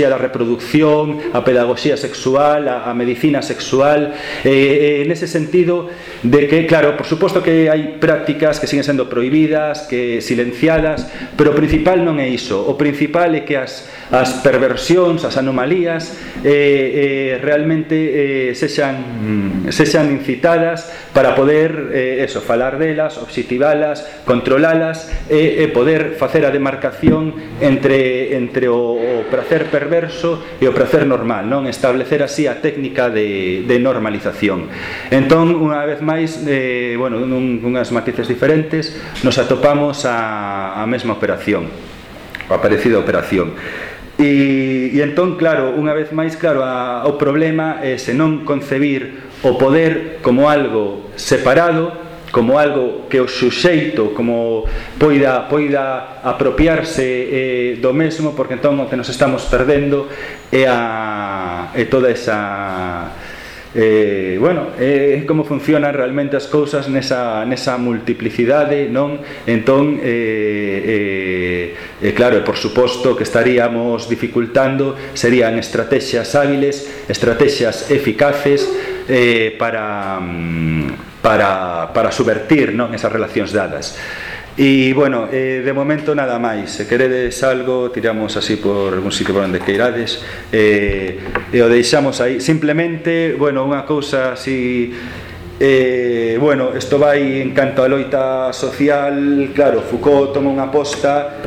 da reproducción, a pedagogía sexual, a medicina sexual, nese sentido de que, claro, por suposto que hai prácticas que siguen sendo prohibidas, que silenciadas, pero o principal non é iso. O principal é que as perversións, as anomalías realmente sexan incitadas para poder falar delas, obxectivalas, controlalas e poder facer a demarcación entre o prazer perverso e o prazer normal, non? Establecer así a técnica de normalización. Entón, unha vez máis, nunhas matices diferentes, nos atopamos a mesma operación, a parecida operación. E entón, claro, unha vez máis, claro, o problema é se non concebir o poder como algo separado, como algo que o suxeito como poida apropiarse do mesmo, porque entón o que nos estamos perdendo é toda esa como funcionan realmente as cousas nesa multiplicidade, non? Entón, claro, por suposto que estaríamos dificultando, serían estrategias hábiles, estrategias eficaces para subvertir, non, esas relacións dadas. E, bueno, de momento nada máis. Se queredes algo, tiramos así por algún sitio por onde queirades, e o deixamos aí. Simplemente, bueno, unha cousa así, isto vai en canto a loita social. Claro, Foucault toma unha aposta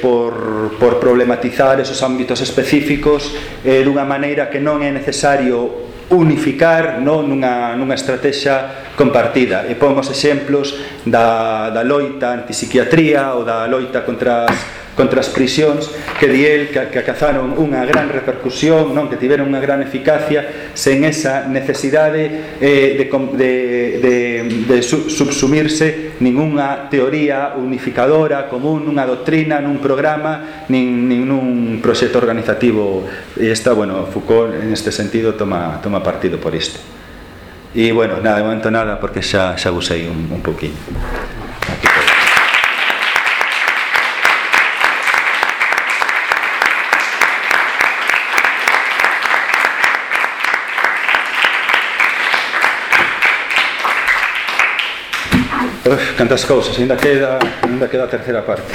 por problematizar esos ámbitos específicos dunha maneira que non é necesario unificar, non, nunha estrategia compartida. E pomos exemplos da loita antipsiquiatría ou da loita contra as prisións, que di el que acazaron unha gran repercusión, non, que tiveron unha gran eficacia sen esa necesidade de subsumirse ningunha teoría unificadora común, nunha doctrina, nun programa, nin nun proxecto organizativo. E Foucault en este sentido toma partido por isto. E, bueno, nada, de momento nada, porque xa usei un poquinho. Cantas cousas, ainda queda a terceira parte.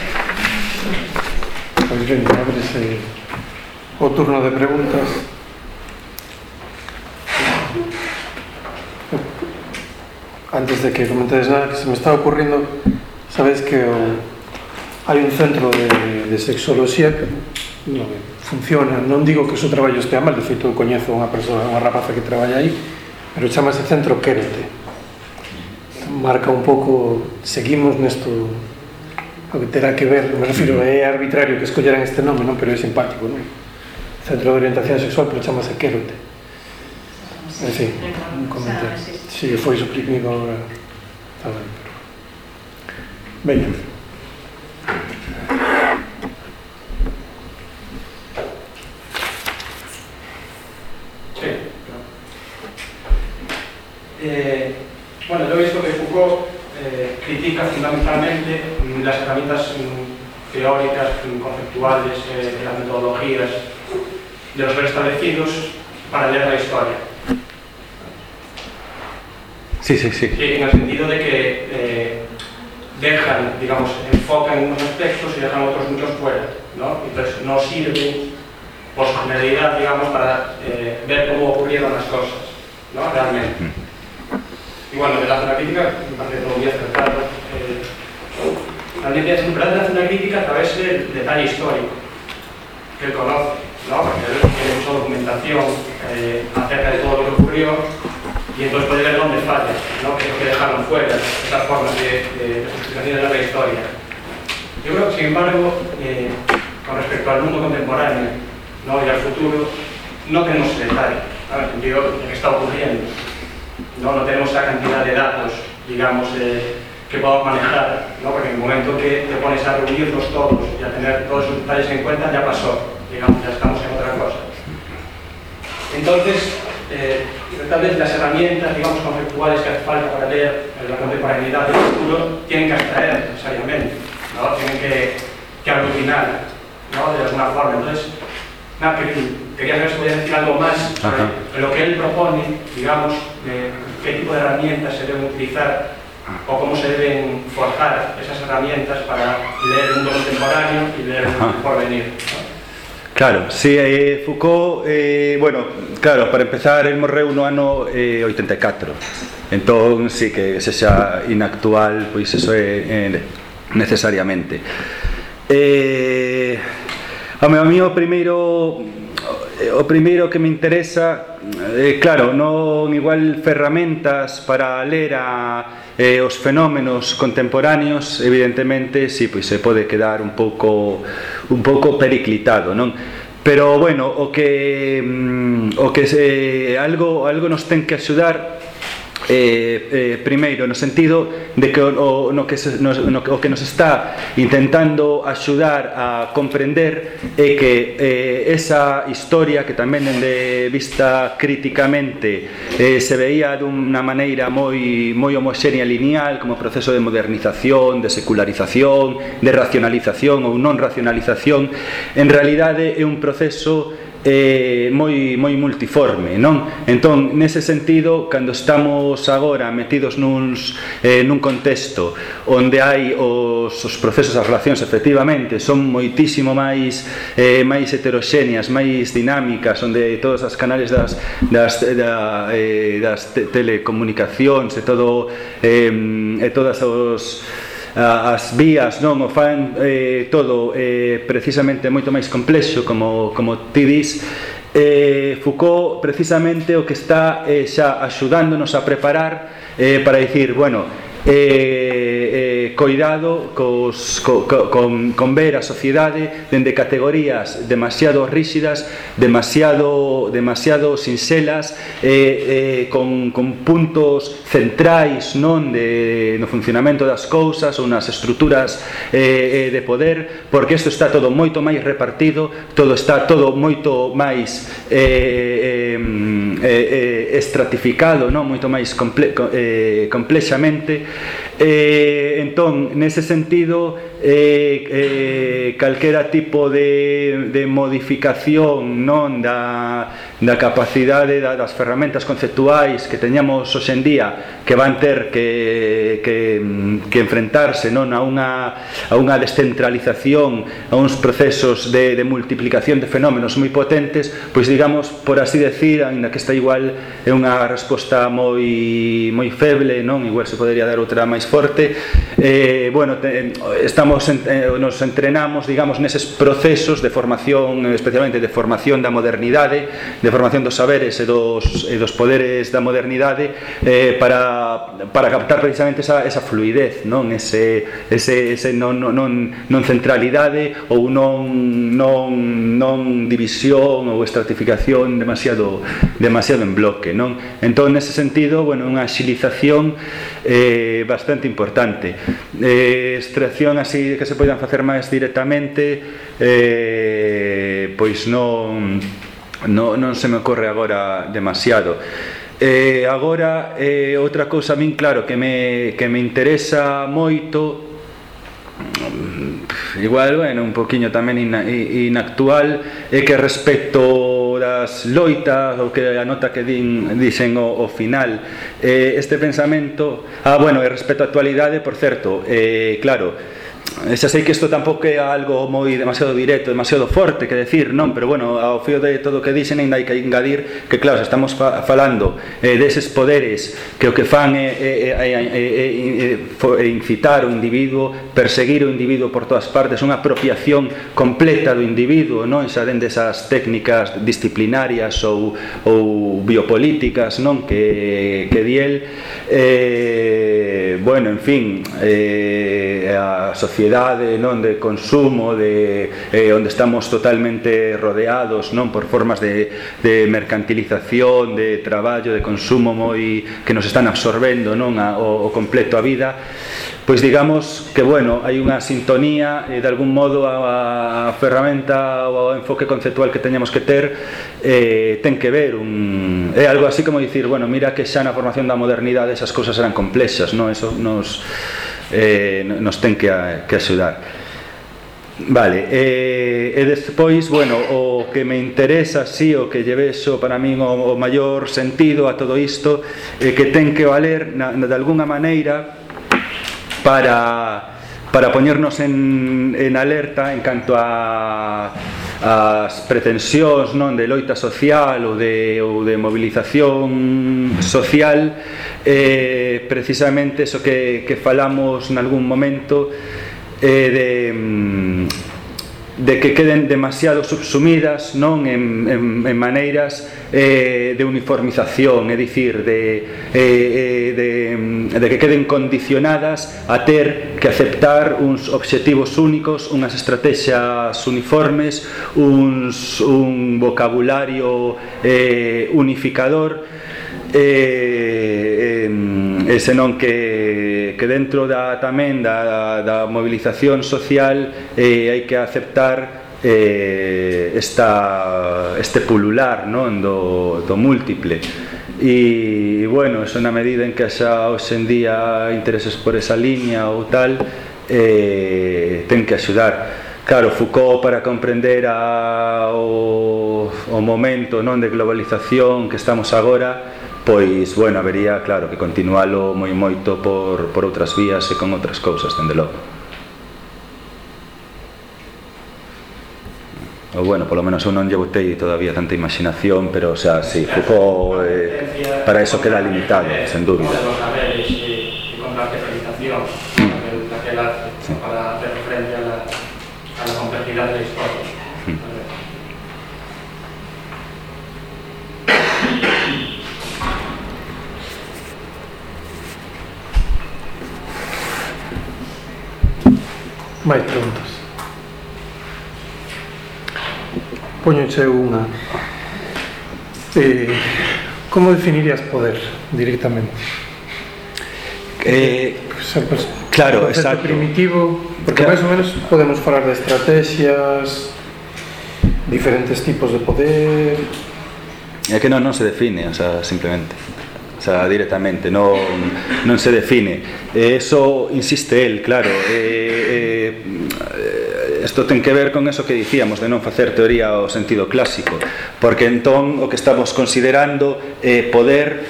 Pois ben, ábrese o turno de preguntas. Antes de que comentedes nada, que se me está ocurriendo, sabes que hai un centro de sexoloxía que funciona, non digo que o seu traballo estea mal, de feito coñezo unha persoa, unha rapaza que traballa aí, pero chamase Centro Quérote. Marca un pouco, seguimos nesto, o que terá que ver, me refiro, é arbitrario que escolleran este nome, non, pero é simpático, non? Centro de Orientación Sexual, pero chamase Quérote. En fin, un comentario. Si foi suprimido agora, está ben, pero... Veña. Bueno, yo he visto que Foucault critica fundamentalmente las herramientas teóricas, conceptuales, las metodologías de los preestablecidos para leer la historia. Sí. En el sentido de que dejan, digamos, enfocan unos aspectos y dejan otros muchos fuera, ¿no? Entonces no sirven por su generalidad, digamos, para ver cómo ocurrieron las cosas, ¿no? Realmente. Y bueno, él hace una crítica, me parece todo muy acertado. Realmente es una crítica a través del detalle histórico que él conoce, ¿no? Porque él tiene mucha documentación acerca de todo lo que ocurrió y entonces puede ver dónde falla, ¿no? Que es lo que dejaron fuera, esas formas de justificación de la historia. Yo creo que, sin embargo, con respecto al mundo contemporáneo, ¿no? Y al futuro, no tenemos ese detalle, ¿no? En el sentido de lo que está ocurriendo. No tenemos esa cantidad de datos, digamos, que podamos manejar, ¿no? Porque en el momento que te pones a reunirlos todos y a tener todos esos detalles en cuenta, ya pasó, digamos, ya estamos en otra cosa. Entonces, tal vez las herramientas, digamos, conceptuales que hace falta para leer la contemporaneidad del futuro tienen que abstraer necesariamente, ¿no? Tienen que aglutinar, ¿no? De alguna forma. Entonces, nada, quería saber si podía decir algo más sobre lo que él propone, digamos, de qué tipo de herramientas se deben utilizar o cómo se deben forjar esas herramientas para leer el mundo contemporáneo y leer el porvenir, ¿no? Claro, sí, Foucault, bueno, claro, para empezar, el morreu no ano 84, entón, sí, que sexa inactual, pois eso é necesariamente. A mí o primeiro que me interesa, claro, non igual ferramentas para ler os fenómenos contemporáneos, evidentemente, sí, pois se pode quedar un pouco periclitado, non? Pero, bueno, o que algo nos ten que axudar, primeiro, no sentido de que o que nos está intentando axudar a comprender é que esa historia que tamén de vista críticamente se veía dunha maneira moi homoxénea e lineal como proceso de modernización, de secularización, de racionalización ou non racionalización, en realidade é un proceso moi multiforme, non? Entón, nese sentido, cando estamos agora metidos nun contexto onde hai os procesos, as relacións, efectivamente, son moitísimo máis heteroxéneas, máis dinámicas, onde todos os canales das telecomunicacións e todas as vías, non, o fan todo precisamente moito máis complexo, como ti dis. Foucault precisamente o que está xa axudándonos a preparar para dicir, bueno, coidado con ver a sociedade dende categorías demasiado rígidas, demasiado sinxelas, con puntos centrais, non, no funcionamento das cousas ou nas estruturas de poder, porque isto está todo moito máis repartido, está todo moito máis estratificado, non, moito máis complexamente. Entón, nese sentido, calquera tipo de modificación, non, da capacidade das ferramentas conceptuais que teñamos hoxendía, que van ter que enfrentarse, non, a unha descentralización, a uns procesos de multiplicación de fenómenos moi potentes, pois digamos, por así decir, ainda que esta igual é unha resposta moi feble, non, igual se podería dar outra máis forte, bueno, nos entrenamos, digamos, neses procesos de formación, especialmente de formación da modernidade, de formación dos saberes e dos poderes da modernidade, para captar precisamente esa fluidez, non, ese non centralidade ou non división ou estratificación demasiado en bloque, non? Entón, nese sentido, bueno, unha axilización bastante importante. Extracción así que se poidan facer máis directamente, pois non se me ocorre agora demasiado. Agora, outra cousa a min, claro, que me interesa moito, igual, bueno, un poquinho tamén inactual, é que respecto das loitas, ou que a nota que dixen ao final, este pensamento, bueno, e respecto á actualidade, por certo, claro, xa sei que isto tampouco é algo moi demasiado directo, demasiado forte que decir, non, pero bueno, ao fío de todo o que dixen ainda hai que engadir que claro, se estamos falando deses poderes que o que fan é incitar o individuo, perseguir o individuo por todas partes, unha apropiación completa do individuo, non, xa dende esas técnicas disciplinarias ou biopolíticas, non, que di el, bueno, en fin, a sociedade, non, de consumo, onde estamos totalmente rodeados, non, por formas de mercantilización, de traballo, de consumo moi que nos están absorbendo, non, o completo a vida, pois digamos que, bueno, hai unha sintonía de algún modo a ferramenta ou o enfoque conceptual que teñamos que ter ten que ver é algo así como dicir, bueno, mira que xa na formación da modernidade esas cousas eran complexas, non, eso nos ten que axudar. Vale, e despois, bueno, o que me interesa, sí, o que lle vexo para min o maior sentido a todo isto que ten que valer de alguna maneira para poñernos en alerta en canto as pretensións, non, de loita social ou de movilización social, precisamente eso que falamos nalgún momento, de que queden demasiado subsumidas, non, en maneiras de uniformización, é dicir, de que queden condicionadas a ter que aceptar uns obxectivos únicos, unhas estrategias uniformes, un vocabulario unificador, senón que dentro tamén da movilización social hai que aceptar este pulular, non, do múltiple. E bueno, eso na medida en que xa hoxe en día intereses por esa liña ou tal, ten que axudar. Claro, Foucault, para comprender o momento, non, de globalización que estamos agora, pois, bueno, habería, claro, que continualo moito por outras vías e con outras cousas, dende logo. Ou, bueno, polo menos eu non lle botei todavía tanta imaginación, pero, o sea, sí, Foucault para eso queda limitado, sen dúbida. Podemos saber e con la especialización daquel arte para hacer frente a la complejidad de la historia. Máis preguntas. Póñoche unha. Como definirías poder directamente? Claro, o exacto. Primitivo, porque máis ou menos podemos falar de estrategias, diferentes tipos de poder. É que non se define, o sea, simplemente. O sea, directamente, non se define. Eso insiste el, claro. Isto ten que ver con eso que dicíamos de non facer teoría ao sentido clásico, porque entón o que estamos considerando é poder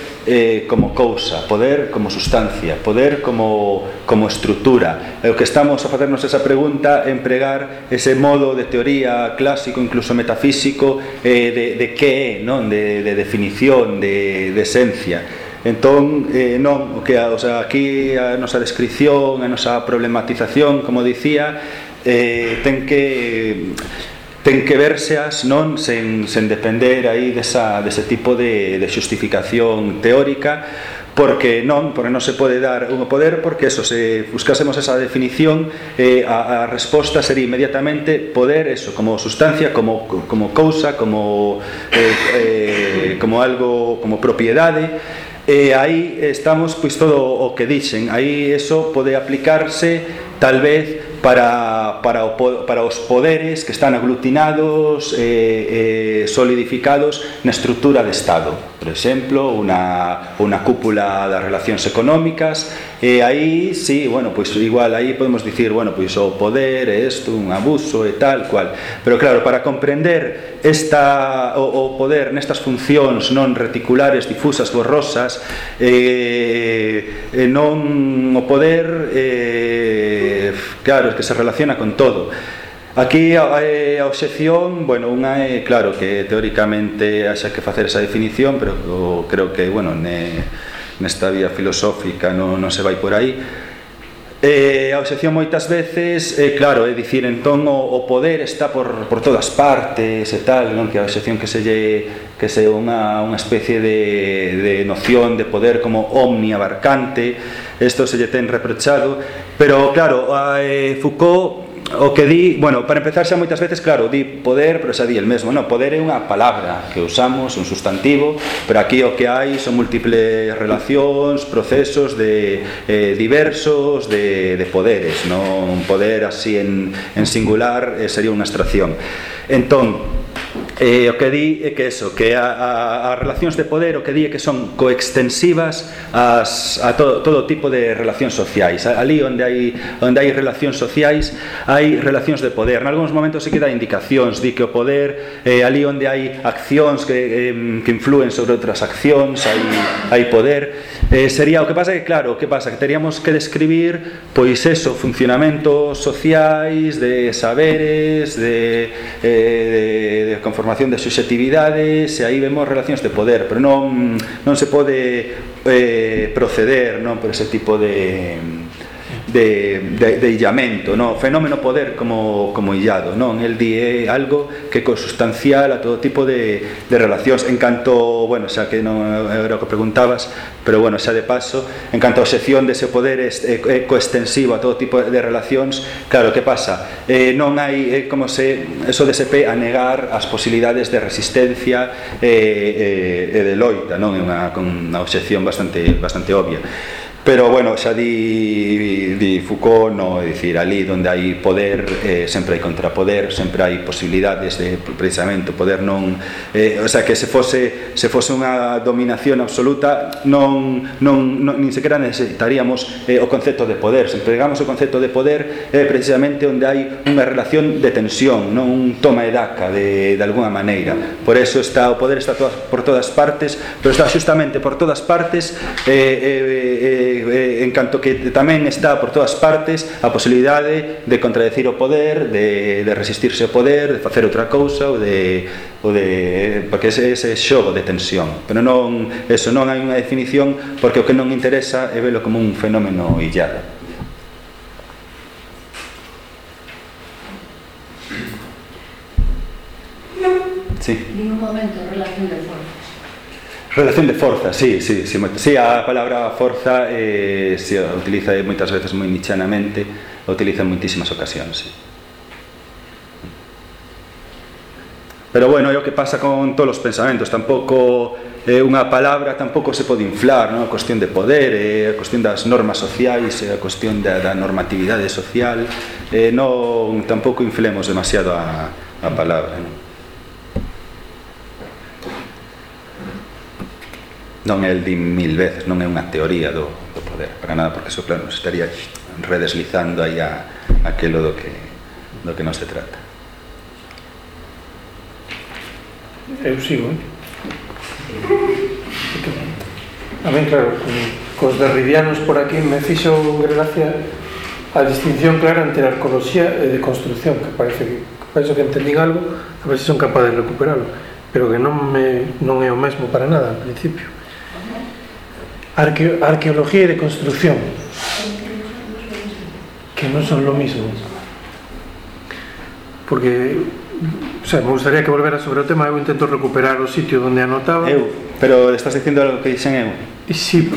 como cousa, poder como sustancia, poder como estrutura. E o que estamos a facernos esa pregunta é empregar ese modo de teoría clásico, incluso metafísico, de que é, non, de definición, de esencia. Entón, non, o sea, aquí a nosa descripción, a nosa problematización, como dicía, ten que verseas, non, sen depender aí dese tipo de xustificación teórica, porque non se pode dar un poder, porque eso, se buscásemos esa definición, a resposta sería inmediatamente poder, eso, como sustancia, como cousa, como algo, como propiedade. E aí estamos, pois, todo o que dixen, aí eso pode aplicarse tal vez para os poderes que están aglutinados, solidificados na estrutura de Estado. Por exemplo, unha cúpula das relacións económicas, e aí, sí, bueno, pois igual aí podemos dicir, bueno, pois o poder é isto, un abuso e tal cual. Pero claro, para comprender o poder nestas funcións non reticulares, difusas, borrosas, non o poder claro, que se relaciona con todo. Aquí a obxección, bueno, unha é, claro, que teóricamente haxa que facer esa definición, pero creo que, bueno, nesta vía filosófica non se vai por aí. A obxección moitas veces, claro, é dicir, entón o poder está por todas partes e tal, non? Que a obxección que se unha especie de noción de poder como omniabarcante, isto se lle ten reprochado, pero claro, Foucault o que di, bueno, para empezar xa moitas veces, claro, di poder, pero xa di el mesmo, no, poder é unha palabra que usamos, un sustantivo, pero aquí o que hai son múltiples relacións, procesos diversos de poderes, non? Un poder así en singular sería unha abstracción. Entón, o que di é que eso, que as relacións de poder, o que di é que son coextensivas a todo tipo de relacións sociais. Ali onde hai relacións sociais hai relacións de poder. En algúns momentos se queda indicacións, di que o poder, ali onde hai accións que influen sobre outras accións, hai poder. Sería, o que pasa é que, claro, o que pasa que teríamos que describir, pois eso, funcionamentos sociais, de saberes, de conformación de subjetividades, e aí vemos relacións de poder, pero non se pode proceder, non, por ese tipo de illamento, non? Fenómeno poder como illado, non? El di é algo que é consustancial a todo tipo de relacións. En canto, bueno, xa que non era o que preguntabas, pero bueno, xa de paso, en canto a obxección dese poder é coextensivo a todo tipo de relacións, claro, que pasa? Non hai, como se eso dese pé a negar as posibilidades de resistencia e de loita, non? É unha obxección bastante obvia. Pero, bueno, xa di Foucault, no, é dicir, ali onde hai poder sempre hai contrapoder, sempre hai posibilidades de, precisamente, o poder non, o sea, que se fose unha dominación absoluta nin sequera necesitaríamos o concepto de poder. Se empregamos o concepto de poder precisamente onde hai unha relación de tensión, non un toma e daca de alguna maneira. Por eso o poder está por todas partes, pero está justamente por todas partes en canto que tamén está por todas partes a posibilidade de contradecir o poder, de resistirse ao poder, de facer outra cousa porque ese xogo de tensión. Pero non hai unha definición, porque o que non interesa é velo como un fenómeno illado. Sí. En un momento, relación de fuerzas. Relación de forza, sí, a palabra forza se utiliza moitas veces moi nichanamente, utiliza en moitísimas ocasións, sí. Pero bueno, é o que pasa con todos os pensamentos, tampouco unha palabra tampouco se pode inflar, non? A cuestión de poder, a cuestión das normas sociais, a cuestión da normatividade social, tampouco inflemos demasiado a palabra, non? Non é el di 1000 veces, non é unha teoría do poder, para nada, porque eso, claro, nos estaría redeslizando aí aquilo do que non se trata. Eu sigo, A mí, claro, cos derridianos por aquí me fixo gracia a distinción clara entre arqueoloxía e de construcción, que parece que entendín algo, a ver se son capaz de recuperarlo, pero que non é o mesmo para nada, al principio. Arqueología y de construcción, que no son lo mismo, porque, o sea, me gustaría que volvera sobre o tema. Eu intento recuperar o sitio onde anotaba. Pero estás dicindo algo que dixen eu? Sí,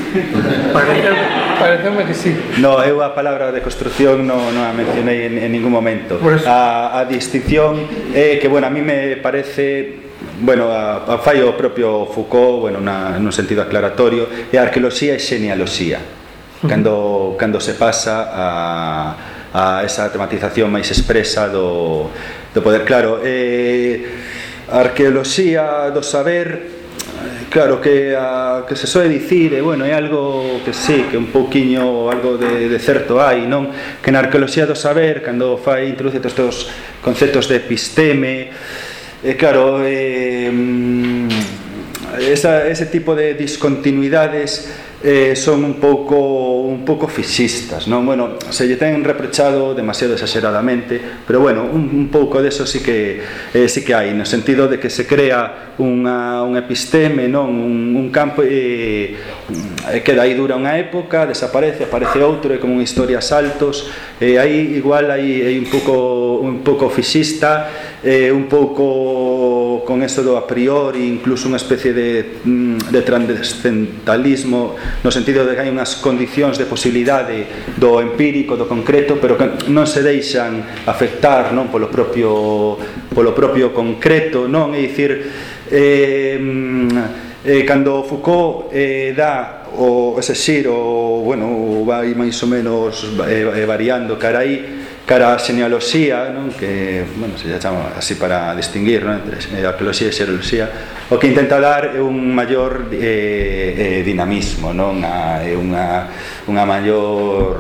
pareceume que sí. No, eu a palabra de construcción non a mencionei en ningún momento. A distinción é que, bueno, a mí me parece... Bueno, fai o propio Foucault, bueno, nun sentido aclaratorio, e a arqueoloxía e xenealoxía, cando se pasa a esa tematización máis expresa do poder. Claro, a arqueoloxía do saber, claro, que se soe dicir, bueno, é algo que sí, que un pouquiño algo de certo hai, non? Que na arqueoloxía do saber, cando introduce todos estes conceptos de episteme, claro, ese tipo de discontinuidades son un pouco fixistas, non? Bueno, se lle ten reprochado demasiado exageradamente, pero bueno, un pouco deso sí que hai, no sentido de que se crea un episteme, non? Un campo que dai dura unha época, desaparece, aparece outro, é como unha historia a saltos, aí igual hai un pouco fixista, un pouco con eso do a priori, incluso unha especie de transcendentalismo, no sentido de que hai unhas condicións de posibilidade do empírico, do concreto, pero que non se deixan afectar, non, polo propio concreto, non? É dicir, cando Foucault dá ese xiro, bueno, vai máis ou menos variando cara a xenealoxía, non? Que, bueno, se chama así para distinguir, non? Entre arqueoloxía e xenealoxía, o que intenta dar é un maior dinamismo, non? Unha maior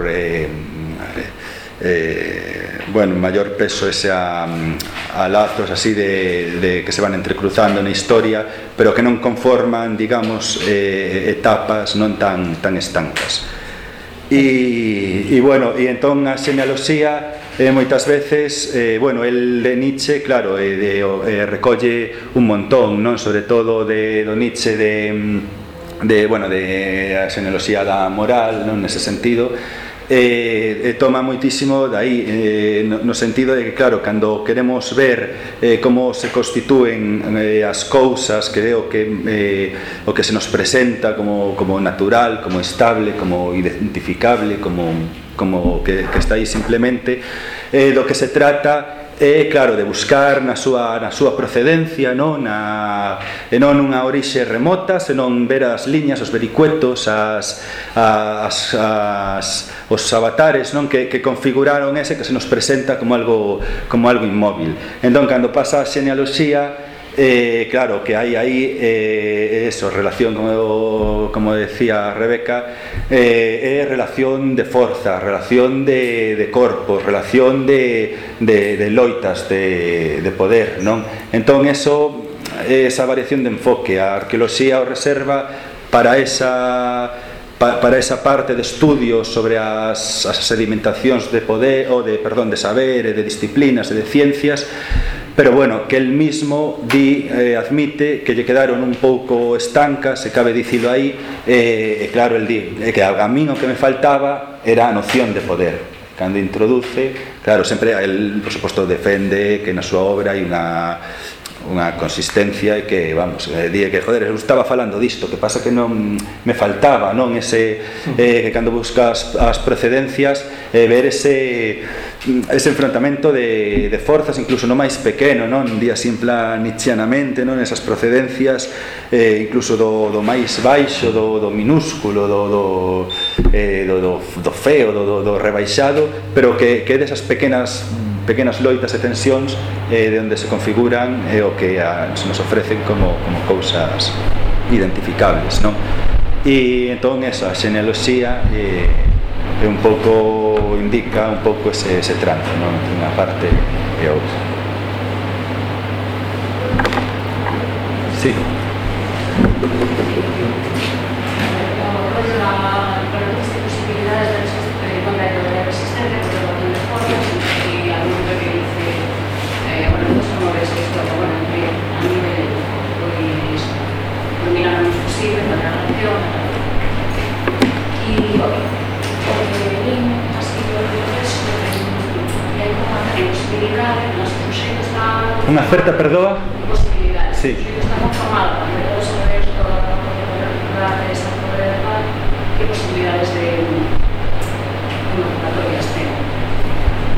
maior peso ese a lazos así de que se van entrecruzando na historia, pero que non conforman, digamos, etapas non tan estancas. E entón a xenealoxía moitas veces, el de Nietzsche, claro, recolle un montón, non? Sobre todo do Nietzsche de a xenealoxía da moral, non? Nese sentido, toma moitísimo dai, no sentido de que, claro, cando queremos ver como se constitúen as cousas, que é o que se nos presenta como natural, como estable, como identificable, como que está aí simplemente, do que se trata claro, de buscar na súa procedencia, non? E non unha orixe remota, senón ver as liñas, os vericuetos, os avatares, non? Que configuraron ese que se nos presenta como algo inmóvil. Entón, cando pasa a xenealoxía, claro, que hai aí eso, relación, como decía Rebeca, é relación de forza, relación de corpos, relación de loitas de poder, non? Entón, esa variación de enfoque, a arqueoloxía o reserva para esa parte de estudios sobre as sedimentacións de poder, de saber, de disciplinas e de ciencias, pero bueno, que el mismo admite que lle quedaron un pouco estancas, se cabe dicilo aí, claro, el di que a min o que me faltaba era a noción de poder. Cando introduce, claro, sempre el, por suposto, defende que na súa obra hai unha consistencia e que, vamos, di que, joder, eu estaba falando disto, que pasa que non me faltaba, non? Que cando buscas as procedencias, ver ese enfrontamento de forzas, incluso no máis pequeno, non? Di así en plan nietzscheanamente, non? Esas procedencias, incluso do máis baixo, do minúsculo, do feo, do rebaixado, pero que desas pequenas loitas e tensións de onde se configuran o que se nos ofrecen como cousas identificables, non? E entón esa xenealoxía é un pouco, indica un pouco ese trance, non? Entre unha parte e outra. Sí. Unha certa, perdoa? Posibilidades. Sí. Está conformado, cando todos saber toda a esa probabilidade, que posibilidades de convocatorias ten.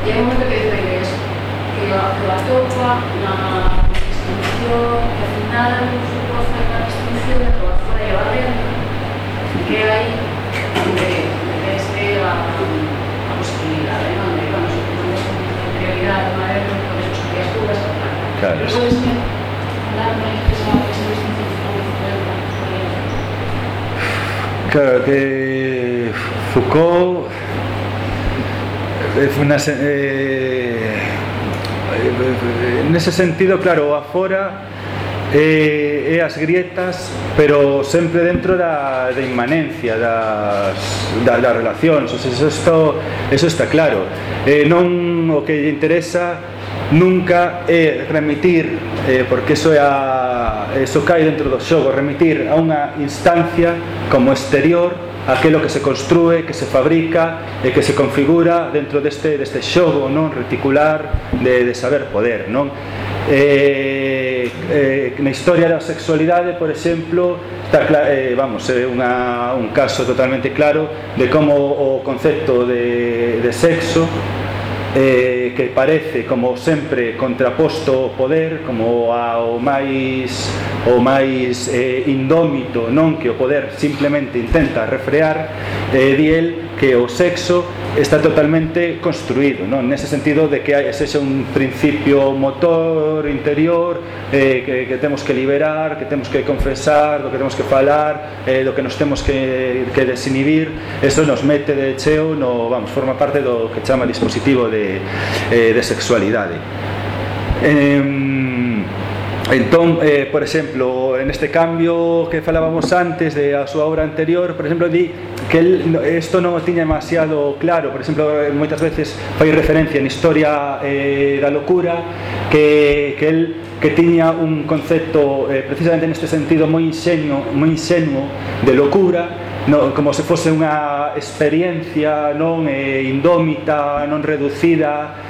E hai un momento que dice que atopa na distinción, que al final Foucault fai unha distinción de toda fora e a dentro, que hai desde a posibilidade, non? De, bueno, se tenemos como prioridade, non é? Por eso son as dudas, claro. Puedes darme esa distinción de claro, que Foucault nese sentido, claro, afora e as grietas, pero sempre dentro da inmanencia das relacións. O sea, eso está claro. Non o que lle interesa nunca é remitir, porque eso cae dentro do xogo, remitir a unha instancia como exterior aquilo que se construe, que se fabrica e que se configura dentro deste xogo, non, reticular de saber poder, non? Na historia da sexualidade, por exemplo, está un caso totalmente claro de como o concepto de sexo, que parece como sempre contraposto ao poder, como ao máis indómito, non, que o poder simplemente intenta refrear, di el que o sexo está totalmente construído, non? Nese sentido de que sexa un principio motor interior, que temos que liberar, que temos que confesar, do que temos que falar, do que nos temos que desinhibir. Eso nos mete de cheo, forma parte do que chama dispositivo de sexualidade. Entón, por exemplo, en este cambio que falábamos antes de a súa obra anterior, por exemplo, di que isto non o tiña demasiado claro. Por exemplo, moitas veces fai referencia en Historia da locura que tiña un concepto precisamente neste sentido moi insenuo de locura, como se fose unha experiencia non indómita, non reducida,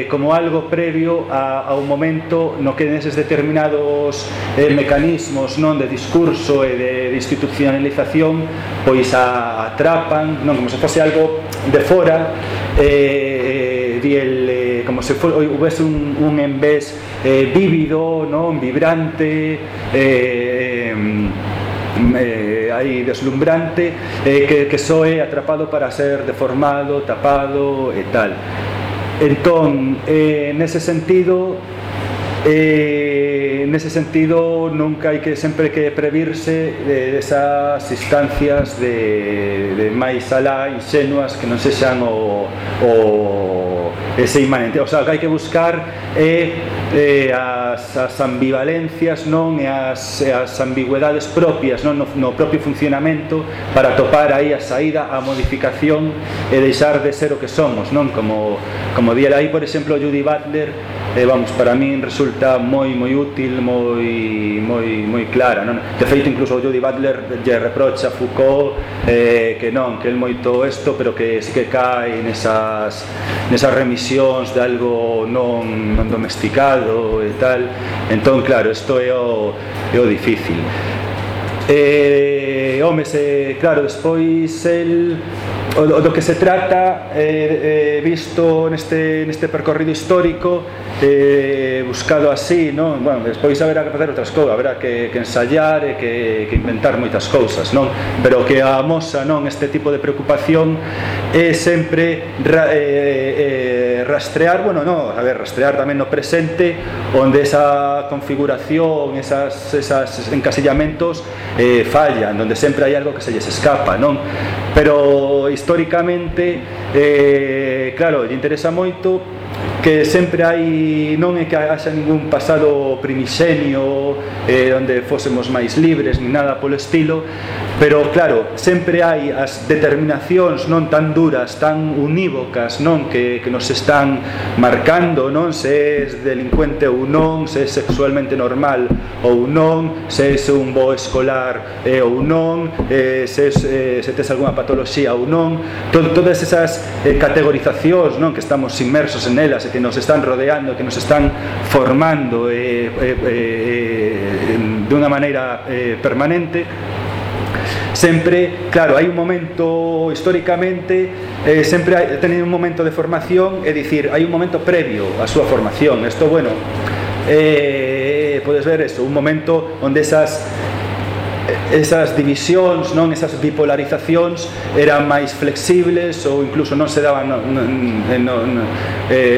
como algo previo a un momento no que neses determinados mecanismos non de discurso e de institucionalización pois atrapan, non, como se fose algo de fora, como se houvese un envés vívido, non, vibrante, aí deslumbrante, que só é atrapado para ser deformado, tapado e tal. Entón, nese sentido nunca hai que sempre que previrse desas instancias de máis alá insenuas que non sexan ese inmanente. O sea, que hai que buscar as ambivalencias, non, e as ambigüedades propias, non, no propio funcionamento, para topar aí a saída, a modificación e deixar de ser o que somos, non? Como diera aí, por exemplo, Judy Butler, para min resulta moi útil, moi clara, non? De feito, incluso Judy Butler lle reprocha a Foucault que el moito isto, pero que sí que cae nesas remisións de algo non domesticado e tal. Entón, claro, isto é o difícil. Claro, despois o do que se trata, visto neste percorrido histórico, buscado así, non? Bueno, despois haberá que facer outras cousas, haberá que ensayar e que inventar moitas cousas, non? Pero que amosa, non, este tipo de preocupación é sempre rastrear, rastrear tamén no presente, onde esa configuración, esos encasillamentos fallan, onde sempre hai algo que se lles escapa, non? Pero históricamente, claro, lle interesa moito que sempre hai, non é que haxa ningún pasado primixenio onde fósemos máis libres ni nada polo estilo, pero claro, sempre hai as determinacións non tan duras, tan unívocas, non, que nos están marcando, non, se é delincuente ou non, se é sexualmente normal ou non, se é un bo escolar ou non, se tes algunha patoloxía ou non, todas esas categorizacións, non, que estamos inmersos en elas e que nos están rodeando, que nos están formando de unha maneira permanente. Sempre, claro, hai un momento históricamente, sempre hai tenido un momento de formación, é dicir, hai un momento previo á súa formación. Isto, bueno, podes ver eso, un momento onde esas divisións, non, esas bipolarizacións eran máis flexibles ou incluso non se daban en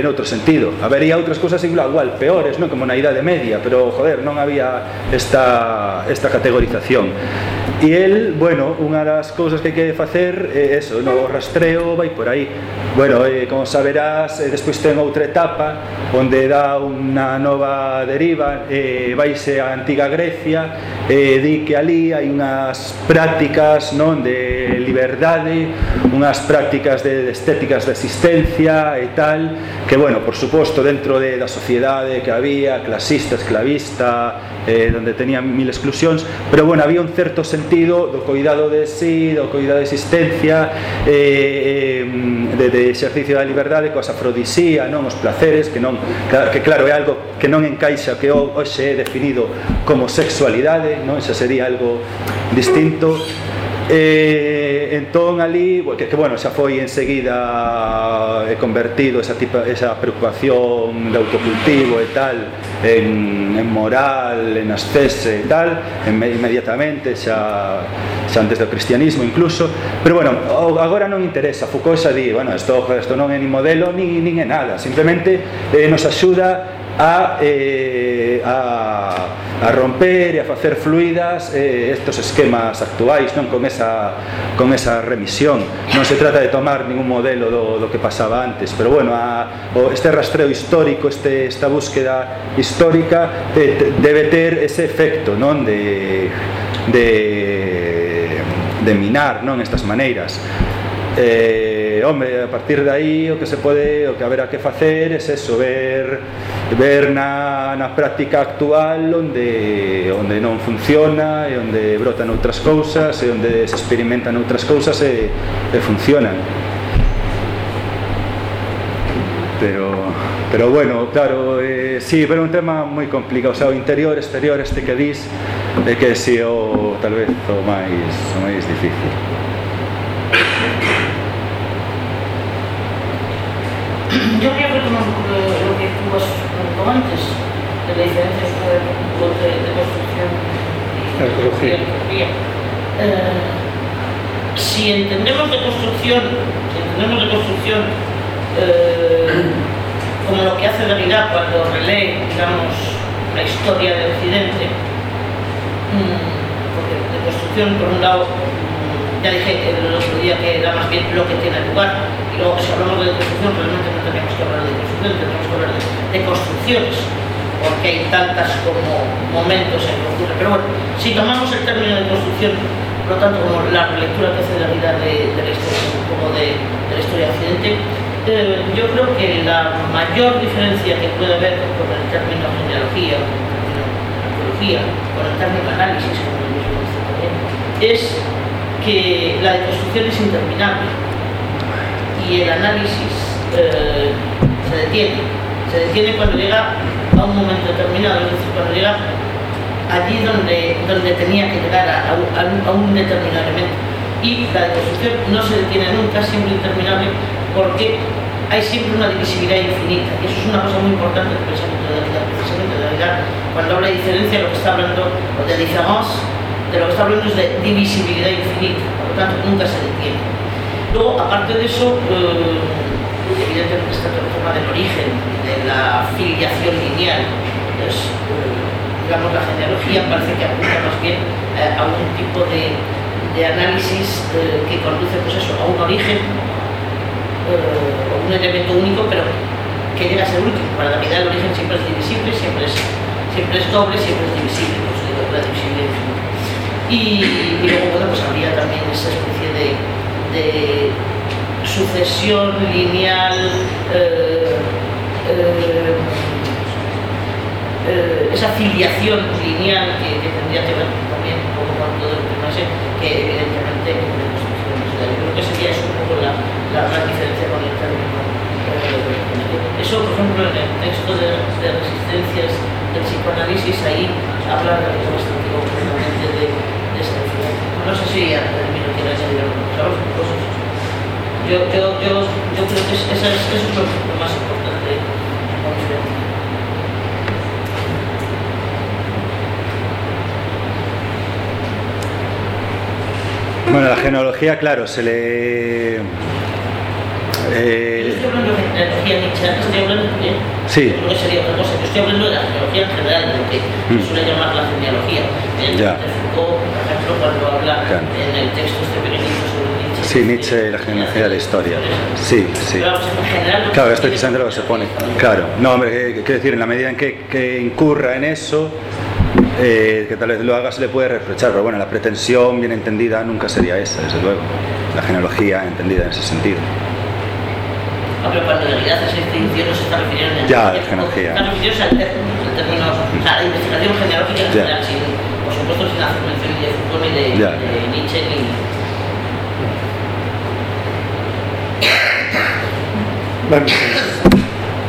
outro sentido. Habería outras cousas igual peores, non, como na Idade Media, pero joder, non había esta categorización. E el, bueno, unha das cousas que hai que facer é eso, no rastreo vai por aí. Bueno, como saberás, despois ten outra etapa onde dá unha nova deriva, vaise a antiga Grecia, di que ali hai unhas prácticas, non, de liberdade, unhas prácticas de estéticas de existencia e tal, que, bueno, por suposto, dentro da sociedade que había, clasista, esclavista, donde tenían mil exclusións, pero, bueno, había un certo sentido do cuidado de sí, do cuidado de existencia, de exercicio da liberdade, coas afrodisía, non, os placeres, que non, que claro, é algo que non encaixa que hoxe é definido como sexualidade, non, xa sería algo distinto. Entón ali, que bueno, xa foi enseguida convertido esa preocupación de autocultivo e tal en moral, en ascese e tal, inmediatamente, xa antes do cristianismo incluso, pero bueno, agora non interesa. Foucault xa di, bueno, isto non é ni modelo nin é nada, simplemente nos axuda a romper e a facer fluidas estos esquemas actuais, non, con esa remisión. Non se trata de tomar ningún modelo do que pasaba antes, pero bueno, este rastreo histórico, esta búsqueda histórica debe ter ese efecto, non, de minar, non, estas maneiras. Hombre, a partir de aí o que haberá que facer é eso, ver na práctica actual onde non funciona e onde brotan outras cousas e onde se experimentan outras cousas e funcionan. Pero bueno, claro, sí, pero é un tema moi complicado, o sea, o interior, exterior, este que dis, é que si tal vez o máis difícil. Yo quería retomar un poco lo que tú has comentado antes, de la diferencia de construcción y ecología. Si entendemos de construcción como lo que hace Derrida cuando relee, digamos, la historia de Occidente, porque de construcción, por un lado, ya dije el otro día que era más bien lo que tiene lugar, y luego si hablamos de construcción realmente no tenemos que hablar de construcción, tenemos que hablar de construcciones, porque hay tantas como momentos en que ocurre. Pero bueno, si tomamos el término de construcción, por lo tanto, como la relectura que hace Derrida de la historia, como de la historia de Occidente, yo creo que la mayor diferencia que puede haber con el término genealogía, arqueología, con el término análisis, como el mismo dice también, es que la deconstrucción es interminable y el análisis se detiene cuando llega a un momento determinado, es decir, cuando llega allí donde tenía que llegar a un determinado elemento. Y la deconstrucción no se detiene nunca, es siempre interminable, porque hay siempre una divisibilidad infinita, y eso es una cosa muy importante del pensamiento de Derrida. Precisamente Derrida, cuando habla de diferencia, lo que está hablando, o de différence, de lo que está hablando es de divisibilidad infinita, por lo tanto nunca se detiene. Luego, aparte de eso, evidentemente está todo el tema del origen, de la filiación lineal. Entonces, digamos, la genealogía parece que apunta más bien a un tipo de análisis que conduce, pues eso, a un origen, un elemento único, pero que llega a ser último. Para Derrida el origen siempre es divisible, siempre es doble, siempre es divisible, por eso digo la divisibilidad infinita. Y luego, bueno, pues habría también esa especie de sucesión lineal, esa filiación lineal que tendría que ver también un poco con todo el tema ese, que evidentemente de construcciones. Yo creo que sería eso un poco la gran diferencia con el término. Eso, por ejemplo, en el texto de resistencias del psicoanálisis, ahí habla bastante concretamente de esta diferencia. No sé si al término quiere añadir algunas cosas. Yo creo que eso es lo más importante como diferencia. Bueno, la genealogía, claro, se le... Estoy hablando de genealogía nietzscheana, estoy hablando de Sí. Creo que sería otra cosa. Yo estoy hablando de la genealogía en general, de lo que se suele llamar la genealogía. Foucault, por ejemplo, cuando habla en el texto este pequeñito sobre Nietzsche. Sí, Nietzsche y la genealogía de la historia. Sí, sí. Pero vamos, en general, Claro, es precisamente lo que se pone. Claro, no, hombre, quiero decir, en la medida en que incurra en eso, que tal vez lo haga, se le puede reprochar, pero bueno, la pretensión bien entendida nunca sería esa, desde luego. La genealogía entendida en ese sentido. Pero cuando en realidad esa distinción no se está refiriendo en Ya, la genealogía. Están refiriéndose al término, o sea, la investigación genealógica en general, sin, por supuesto, sin hacer mención ni de Foucault, ni de Nietzsche, ni... Ben,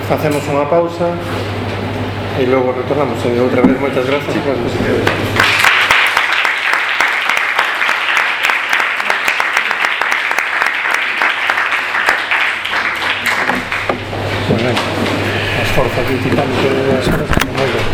facemos unha pausa e logo retornamos. E outra vez, moitas grazas polas posibilidades. Bueno, as forzas de titán que as cosas como moi ben.